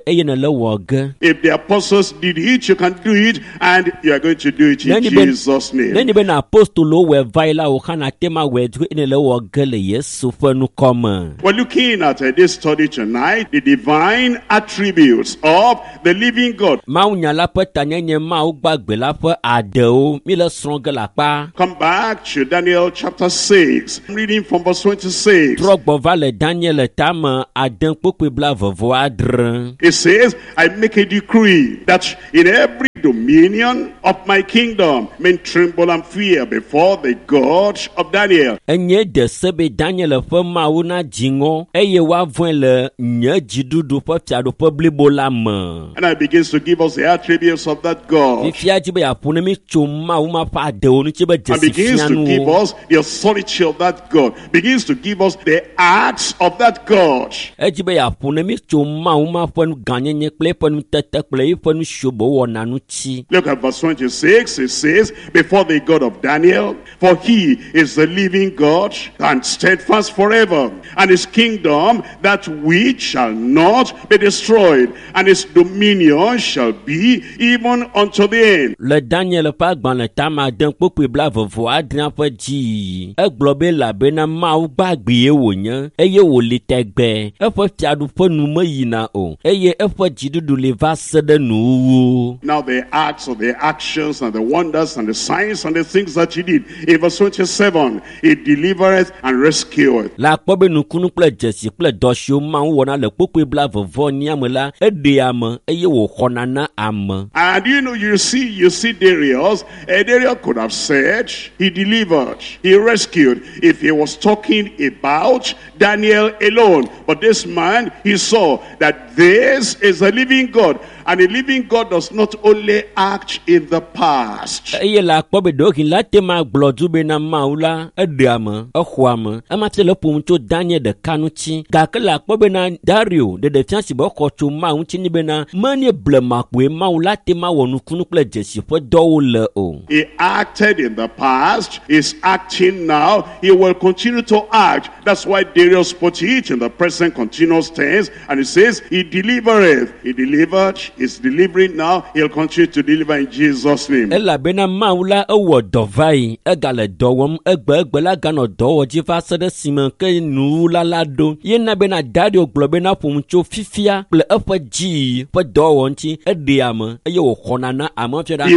eye nèle wɔ ge. If the apostles did it, you can do it, and you are going to do it in Nenye be- Jesus' name. Nenye bena apostolowo wɔe va yi la, wò hã le ate ŋu awɔe eye nèle wɔ ge le Yesu ƒe ŋkɔ me. We're looking at this study tonight, the divine attributes of the living God. Mawunya la ƒe tanyenye Mawu gbagbe la ƒe adewo mi le srɔ̃ ge le akpa. Come back to Daniel chapter 6. I'm reading from verse 26. Trɔ gbɔ va le Daniel tame ade kpukpui 26. It says, I make a decree that in every dominion of my kingdom men tremble and fear before the God of Daniel. Enye de se be Daniel ƒe Mawu na dzi ŋɔ eye woavɔ̃e le nye dziɖuɖu ƒe fiaɖuƒe blibo la me. And I begins to give us the attributes of that God. Fifia dzi be yeaƒo ne mi tso Mawu ma ƒe adewo ŋuti be And begins to give dzesifianuwo. us the authority of that God. Begins to give us the acts of that God. Edzi be yeaƒo ne mi tso Mawu ma ƒe nu gãnyenye kple eƒe nutete kple eƒe nu siwo be wɔna ŋuti. Look at verse 26. It says, before the God of Daniel, for he is the living God and steadfast forever, and his kingdom that which shall not be destroyed, and his dominion shall be even unto the end. Le Daniel ƒe agbalẽ tame ade kpukpui 26 ƒe dziyiyi, egblɔ be elabena Mawu gbagbee wònye eye wòli tɛgbɛ. Eƒe fiaɖuƒe nu meyina o eye eƒe dziɖuɖu li va se ɖe nuwuwu. Now the acts of the actions and the wonders and the signs and the things that he did. In verse 27, he delivereth and rescueth. Le akpɔ be nukunu kple dzesi kple dɔ siwo Mawu wɔna le kpukpui 24 me la, eɖea ame eye wòxɔna na ame. And you know, you see Darius. Darius could have said he delivered, he rescued, if he was talking about Daniel alone. But this man, he saw that this is a living God. And a living God does not only act in the past. Eye le akpɔ be ɖewohĩ la te ma gblɔ du bena Mawu la eɖea ame, exɔa ame. Ema fia le ƒom tso Daniel ɖeka ŋuti. Gake le akpɔ bena Dario ɖeɖefia si be exɔ tso Mawu ŋuti ni bena menye blemakpoe Mawu la te ma wɔ nukunu kple dzesi ƒe dɔwo le o. He acted in the past, he's acting now, he will continue to act. That's why Darius put it in the present continuous tense, and he says, he delivereth. He delivered, he's delivering now, he'll continue to deliver in Jesus' name. Elabena Mawu la ewɔ dɔ va yi, egale dɔ wɔm, egbe la ganɔ dɔ wɔ dzi va se ɖe esime ke nuwula la ɖo. Yena bena Dario gblɔ bena ƒom tso fifia kple eƒe dzi ƒe dɔwɔwɔ ŋuti, eɖea ame eye wòxɔna na ame fia ɖa. He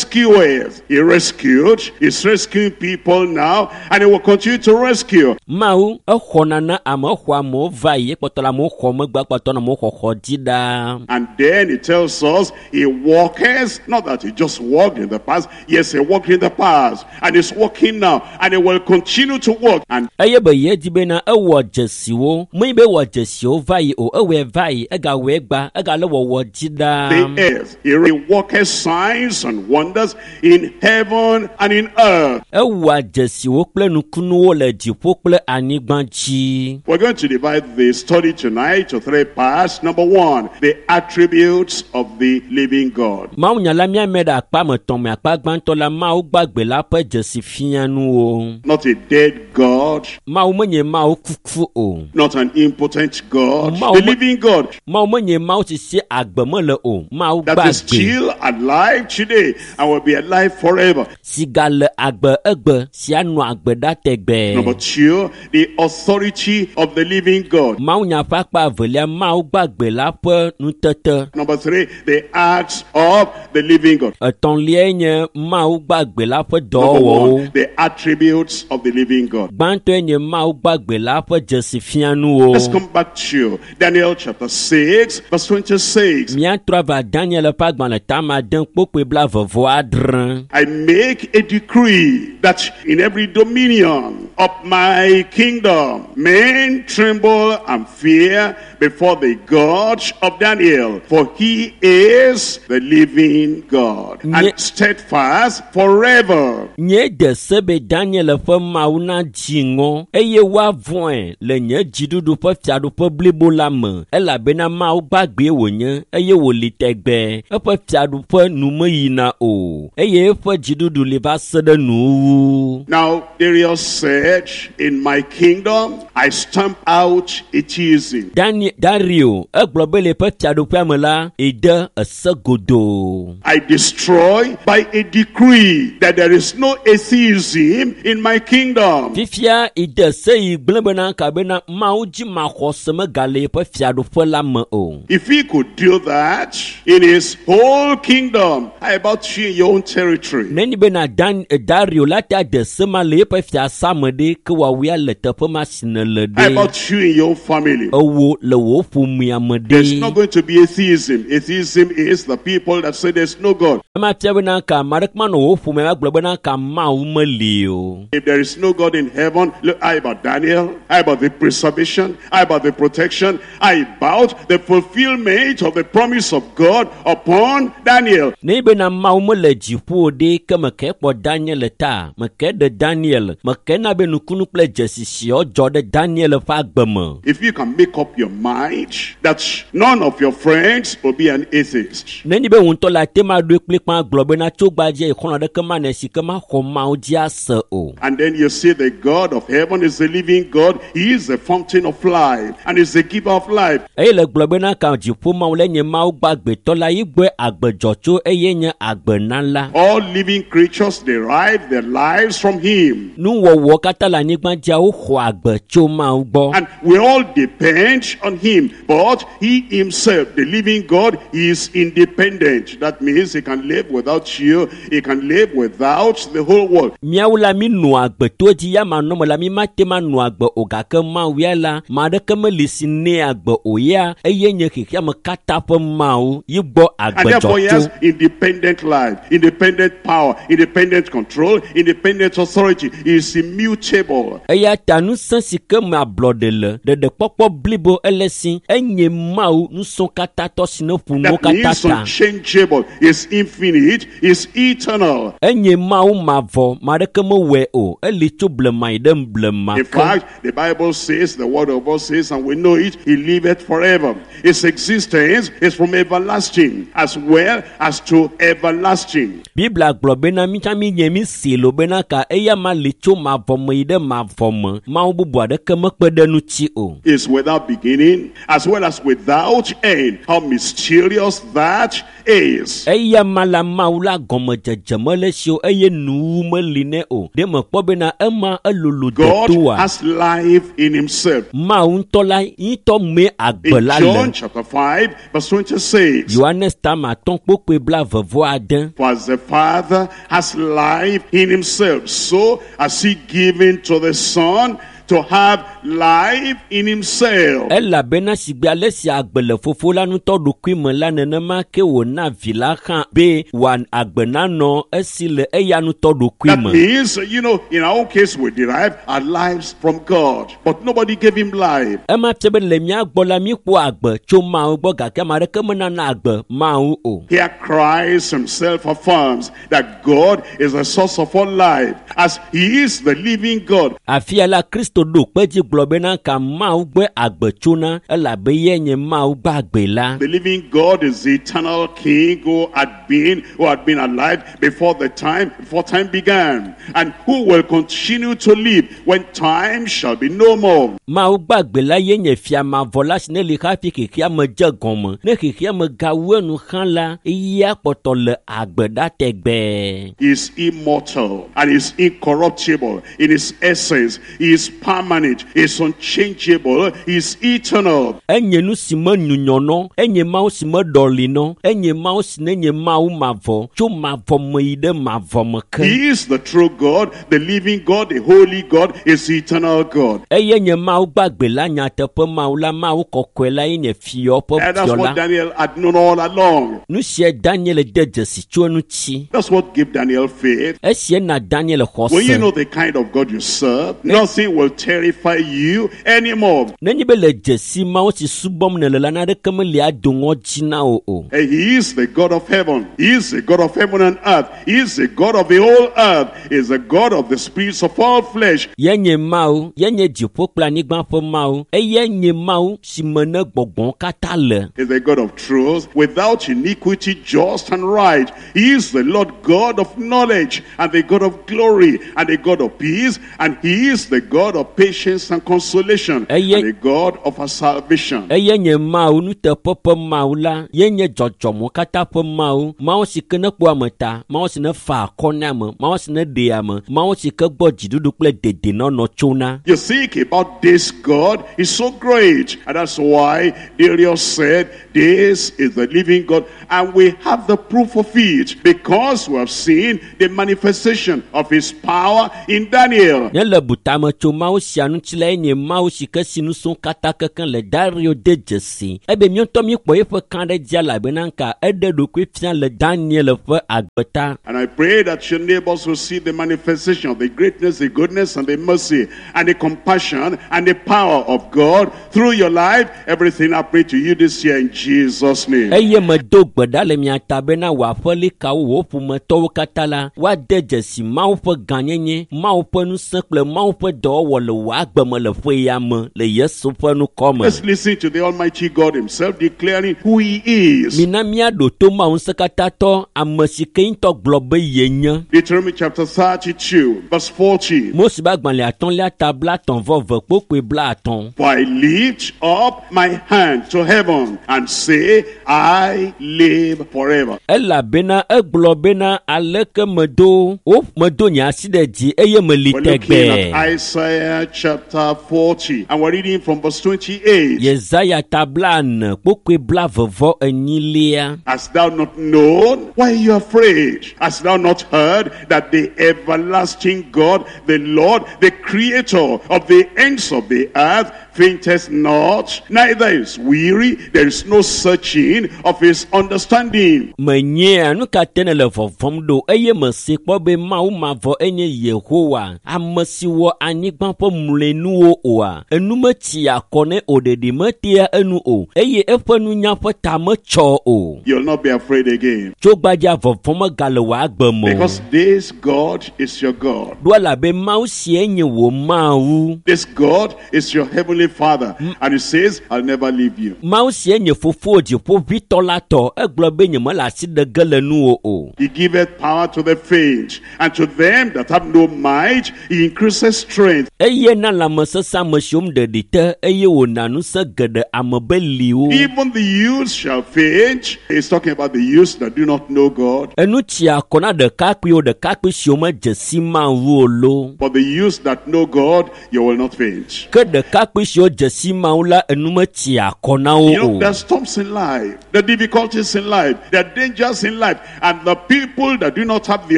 rescueth, he rescued, he's rescuing people now, and he will continue to rescue. Mawu exɔna na ame, exɔ amewo va yi, ekpɔtɔ le amewo xɔm, egbe kpɔtɔ nɔ amewo xɔxɔ dzi ɖaa. And then it tells us he walketh, not that he just walked in the past. Yes, he walked in the past, and he's walking now, and he will continue to walk. And Eye be ye di bena ewɔ dzesiwo menye be ewɔ dzesiwo va yi o ewɔe va yi egawɔe gba egale wɔwɔ dzi the ɖaa. earth, he worketh signs and wonders in heaven and in earth. Ewɔa dzesiwo kple nukunuwo le dziƒo kple anyigba dzi. We're going to divide the study tonight to three parts. Number one, the attributes of the living God. Mawunya la míame ɖe akpa me tɔn me akpa gbãtɔ la Mawu gbagbe la ƒe dzesi fianuwo. Not a dead God, Mawu menye Mawu kuku o. not an impotent God, Mawu the me- living God Mawu menye Mawu si si agbe mele o. Mawu that is gbagbe still alive today and will be alive forever. si gale agbe egbe si anɔ agbe ɖa tegbee. Number two, the authority of the living God. Mawunya ƒe akpa evelia Mawu gbagbe la ƒe nutete. Number three, the acts of the living God. Etɔ̃liae nye Mawu gbagbe la ƒe Number dɔwɔwɔwo. one, the attributes of the living God. Gbãtɔe nye Mawu gbagbe la ƒe dzesi fianuwo. Let's come back to Daniel chapter 6, verse 26. Míatrɔ ava Daniel ƒe agbalẽ tama ade kpokpoe 26. I make a decree that in every dominion of my kingdom, men tremble and fear before the God of Daniel, for he is the living God and steadfast forever. Nye de se be Daniel ƒe Mawu nadzi ŋɔ eye woavɔ̃e le nye dziɖuɖu ƒe fiaɖuƒe blibo la me elabena Mawu gbagbee wònye eye wòli tegbee. Eƒe fiaɖuƒe nu meyina o eye eƒe dziɖuɖu li va se ɖe nuwuwu. Now, Darius said, in my kingdom, I stamp out atheism. Dani Dario egblɔ be le eƒe fiaɖuƒea me la, ede ese godoo. I destroy by a decree that there is no atheism in my kingdom. Fifia ide se yi gblẽ bena kabena Mawu dzi maxɔse megale eƒe fiaɖuƒe la me o. If he could do that in his whole kingdom, how about you in your own territory? Nenye bena Dan Dario la ta de se ma le eƒe fiasa me ɖe ke woawoe le teƒe ma si nèle How ɖe. about you in your own family? Ewo le wò ƒomea me There's ɖe. not going to be atheism. Atheism is the people that say there's no God. Ema fia bena ka ame aɖeke manɔ wò ƒomea gblɔ bena ka Mawu meli o. If there is no God in heaven, look, how about Daniel? How about the preservation? How about the protection? How about the fulfillment of the promise of God upon Daniel? Nenye bena Mawu mele dziƒo o ɖe ke meke kpɔ Daniel ta, meke ɖe Daniel, meke na be nukunu kple dzesi siawo dzɔ ɖe Daniel ƒe agbe me. If you can make up your mind that none of your friends will be an atheist, Nenye be wò ŋutɔ le ate ma ɖoe kplikpã gblɔ bena tso gbadze xɔlɔ̃ aɖeke manɔ si ke maxɔ Mawu dzi ase o. and then you see the God of heaven is the living God, He is the fountain of life and is the giver of life. Eye le gblɔ bena ka dziƒo Mawu le nye Mawu gbagbetɔ la yi gbɔe agbe dzɔ tso eye nye agbenala. All living creatures derive their lives from Him. Nuwɔwɔ katã le anyigba dzia woxɔ agbe tso Mawu gbɔ. And we all depend on Him. But He Himself, the living God, is independent. That means He can live without you. He can live without the whole world. Míawo la mi nɔa agbe to edzi ya manɔme la mi mate ma nɔ agbe o gake Mawu ya la ame aɖeke meli si nɛ agbe o ya eye nye xexeame katã ƒe Mawu yi gbɔ And agbe therefore He dzɔ has tso. independent life, independent power, independent control, independent authority. He is immutable. Eya ta ŋusẽ si ke me ablɔɖe le ɖeɖekpɔkpɔ blibo ele si enye Mawu ŋusẽ katãtɔ si ne ƒo nuwo That katã means ta. unchangeable. He is infinite. He is eternal. Enye Mawu mavɔ ame aɖeke mewɔe o eli tso blema yi ɖe blema In ke. fact, the Bible says, the word of God says, and we know it, he liveth forever. His existence is from everlasting as well as to everlasting. Biblia gblɔ bena mí tsã mí nye mí si lo bena ka eya ma li tso mavɔ me yi ɖe mavɔ me. Mawu bubu aɖeke mekpe ɖe ŋuti o. Is without beginning as well as without end. How mysterious that is. Eya ma la Mawu la gɔmedzedze mele si o eye nuwu meli nɛ o. Ɖe mekpɔ bena ema elolo God detoa. has life in himself. Mawu ŋutɔ la ŋutɔ mee agbe In la John le. chapter 5, verse 26. Yohanes tama atɔ̃ kpokpoe 26. For as the Father has life in himself, so has he given to the Son to have life in himself. Elabena sigbe ale si agbe le fofo la ŋutɔ ɖokui me la nenema ke wòna vi la hã be wòa agbe nanɔ esi le eya ŋutɔ ɖokui That me. means, in our own case, we derive our lives from God, but nobody gave him life. Ema fia be le mía gbɔ la míekpɔ agbe tso Mawu gbɔ gake ame aɖeke menana agbe Mawu o. Here Christ himself affirms that God is the source of all life, as he is the living God. Afia la Kristo ɖo kpe dzi gblɔ bena ka Mawu gbɔe agbe tsona elabe ye nye Mawu gbagbe la. The living God is the eternal King who had been alive before time began, and who will continue to live when time shall be no more. Mawu gbagbe la ye nye fia mavɔ la si ne li hafi xexea me dze gɔme. Ne xexea me gawu enu hã la, eya kpɔtɔ le agbe ɖa tegbee. He is immortal and is incorruptible in his essence. He is permanent, he is unchangeable, he is eternal. Enye nu si me nyunyɔnɔ, enye Mawu si me ɖɔlinɔ, enye Mawu si ne nye Mawu mavɔ, tso mavɔ me yi ɖe mavɔ me ke. He is the true God, the living God, the holy God, is the eternal God. Eye nye Mawu gbagbe la, nyateƒe Mawu la, Mawu kɔkɔe la ye nye fiɔ ƒe And that's fiɔ what la. Daniel had known all along. Nu sia Daniel de dzesi tso eŋuti. That's what gave Daniel faith. Esia na Daniel When you xɔse. know the kind of God you serve, nothing will terrify you anymore. Nenye be le dzesi Mawu si subɔm nèle la, naneke meli ado ŋɔdzi na wò o. And he is the God of heaven. He is the God of heaven and earth. He is the God of the whole earth. He is the God of the spirits of all flesh. Ye nye Mawu, ye nye dziƒo kple anyigba ƒe Mawu. Eye nye Mawu si me ne gbɔgbɔwo katã le. He is the God of truth, without iniquity, just and right. He is the Lord God of knowledge, and the God of glory, and the God of peace, and he is the God of patience and consolation, and the God of our salvation. Eye nye Mawu nuteƒe ƒe Mawu la, ye nye dzɔdzɔmewo katã ƒe Mawu. Mawu si ke ne kpɔa ame ta, Mawu si ne fa akɔ na ame, Mawu si ne ɖea ame, Mawu si ke gbɔ dziɖuɖu kple dedenɔnɔ tsona. You think about this God is so great, and that's why Darius said, this is the living God, and we have the proof of it, because we have seen the manifestation of his power in Daniel. Nye le butame tso Mawu sia ŋuti la, ye nye Mawu si ke si nusẽ katã kekeŋ le Dario de dzesi. Ebe míaŋutɔ míekpɔ eƒe kã ɖe dzi elabena ka eɖe ɖokui fia le Daniel ƒe agbe ta. And I pray that your neighbors will see the manifestation of the greatness, the goodness, and the mercy, and the compassion, and the power of God through your life. Everything I pray to you this year in Jesus' name. Eye medo gbe ɖa le mia ta bena wò aƒelikawo, wò ƒometɔwo katã la, woade dzesi Mawu ƒe gãnyenye, Mawu ƒe ŋusẽ kple Mawu ƒe dɔwɔwɔ le wò agbe me le ƒe ya me le Yesu ƒe ŋkɔ me. Let's listen to the Almighty God himself declaring who he is. Mina míaɖo to Mawu ŋusẽkatãtɔ, ame si ke ŋutɔ gblɔ be ye nye. Deuteronomy chapter 32, verse 40. Mose ƒe agbalẽ atɔ̃lia ta 30:50. For I lift up my hand to heaven and say, I live forever. Elabena egblɔ bena aleke medo wo medo nye asi ɖe dzi eye meli We're looking tegbee. at Isaiah chapter 40, and we're reading from verse 28. Yesaya ta 44:44. Hast thou not known? Why are you afraid? Hast thou not heard that the everlasting God, the Lord, the creator of the ends of the earth, fainteth not, neither is weary, there is no searching of his understanding. Menyea nu ka te nèle vɔvɔ̃m ɖo eye mese kpɔ be Mawu mavɔ enye Yehowa, ame si wɔ anyigba ƒe mlɔenuwo oa. Enu metsia akɔ nɛ o, ɖeɖi metea enu o, eye eƒe nunya ƒe ta metsɔ o. You'll not be afraid again, Tso gbadza vɔvɔ̃ megale wò agbe me o. because this God is your God. Ɖo elabe Mawu sie nye wò Mawu. This God is your heavenly Father, and he says, I'll never leave you. Mawu sie nye fofo dziƒoʋĩtɔ la tɔ. Egblɔ be nyemele asi ɖe ge le nuwò o. He giveth power to the faint, and to them that have no might, he increaseth strength. Eye na lãmesesẽ ame siwo ɖeɖi te eye wòna ŋusẽ geɖe ame beliwo. Even the youths shall faint. He's talking about the youths that do not know God. Enu tsia akɔ na ɖekakpuiwo, ɖekakpui siwo medze si Mawu o lo. But the youths that know God, you will not faint. Ke ɖekakpui siwo dze si Mawu la enu metsia akɔ na wo You know, o. there are storms in life, the difficulties in life, there are dangers in life, and the people that do not have the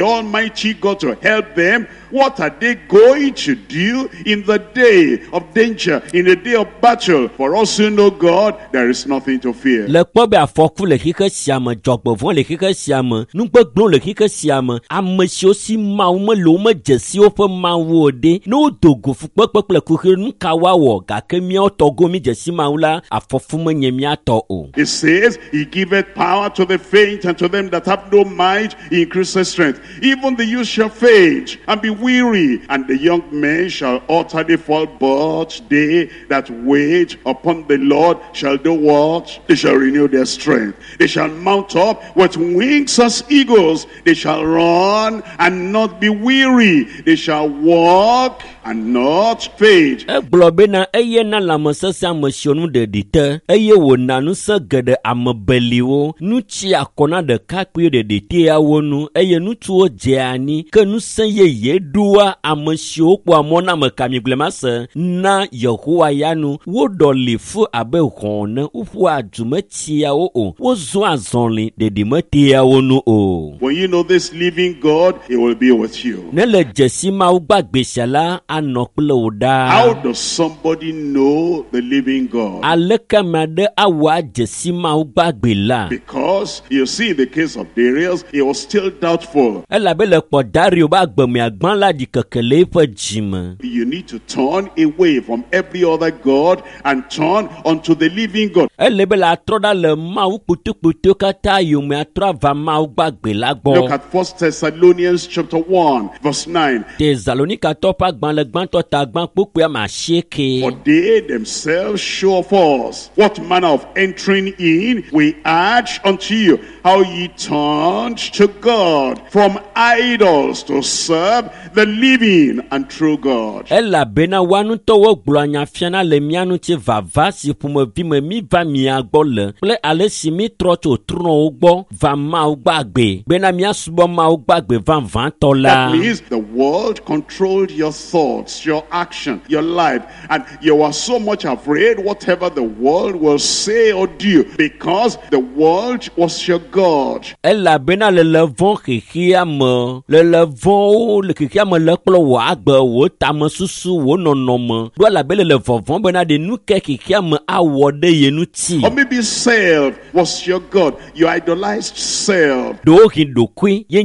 Almighty God to help them, what are they going to do in the day of danger, in the day of battle? For us who know God, there is nothing to fear. Le kpɔ be afɔku le xixe sia me, dzɔgbevɔ̃ le xixe sia me, nugbegblẽ le xixe sia me, ame siwo si Mawu mele wo medze si woƒe Mawu o ɖe, ne wodo go fukpekpe kple kuxi nu ka woawɔ gake míawo tɔgo mi dze si Mawu la, afɔfu menye mía tɔ o. It says, He giveth power to the faint, and to them that have no might, He increaseth strength. Even the youth shall faint and be weary, and the young men shall utterly fall. But they that wait upon the Lord shall do what? They shall renew their strength. They shall mount up with wings as eagles. They shall run and not be weary. They shall walk and not faint. Egblɔ bena eye na lãmesesẽ ame siwo nu ɖeɖi te eye wòna ŋusẽ geɖe ame beliwo. Nu tsi akɔ na ɖekakpuiwo ɖeɖi tea wo nu eye ŋutsuwo dzea anyi ke ŋusẽ yeye ɖoa ame siwo kpɔa mɔ na ame kamigblẽmase na Yehowa ya nu. Woɖɔli fu abe hɔ̃ ene, woƒua du metsia wo o, wozɔa azɔli ɖeɖi metea wo nu o. When you know this living God, He will be with you. Ne le dzesi Mawu gbagbe sia la, anɔ kple wò ɖaa. How does somebody know the living God? Aleke ame aɖe awɔ adze si Mawu gbagbe la? Because you see, in the case of Darius, he was still doubtful. Elabe le kpɔ Dario be agbemea gbã la ɖi keke le eƒe dzime. You need to turn away from every other God and turn unto the living God. Ele be le atrɔ ɖa le Mawu kpotokpoto katã yome atrɔ ava Mawu gbagbe la Look gbɔ. at 1 Thessalonians chapter 1, verse 9. Tesalonikatɔ ƒe agbalẽ gbãtɔ ta gbã kpukpui ame asieke. For they themselves show of us what manner of entering in we urge unto you, how ye turned to God from idols to serve the living and true God. Elabena woa ŋutɔwo gblɔa nya fiana le mía ŋuti vava si ƒomevi me mi va mia gbɔ le kple ale si mi trɔ tso trɔ̃wo gbɔ va Mawu gbagbe bena míasubɔ Mawu gbagbe vavãtɔ la. That means the world controlled your thoughts, your action, your life, and you were so much afraid whatever the world will say or do, because the world was your God. Elabena lele vɔ̃ xexea me, lele vɔ̃wo le xexea me le kplɔ wò agbe, wò tamesusu, wò nɔnɔme ɖo elabe lele vɔvɔ̃ bena ɖe nu ke xexea me awɔ ɖe ye ŋuti. Or maybe self was your God. You idolized self. Ɖewohĩ ɖokui ye nye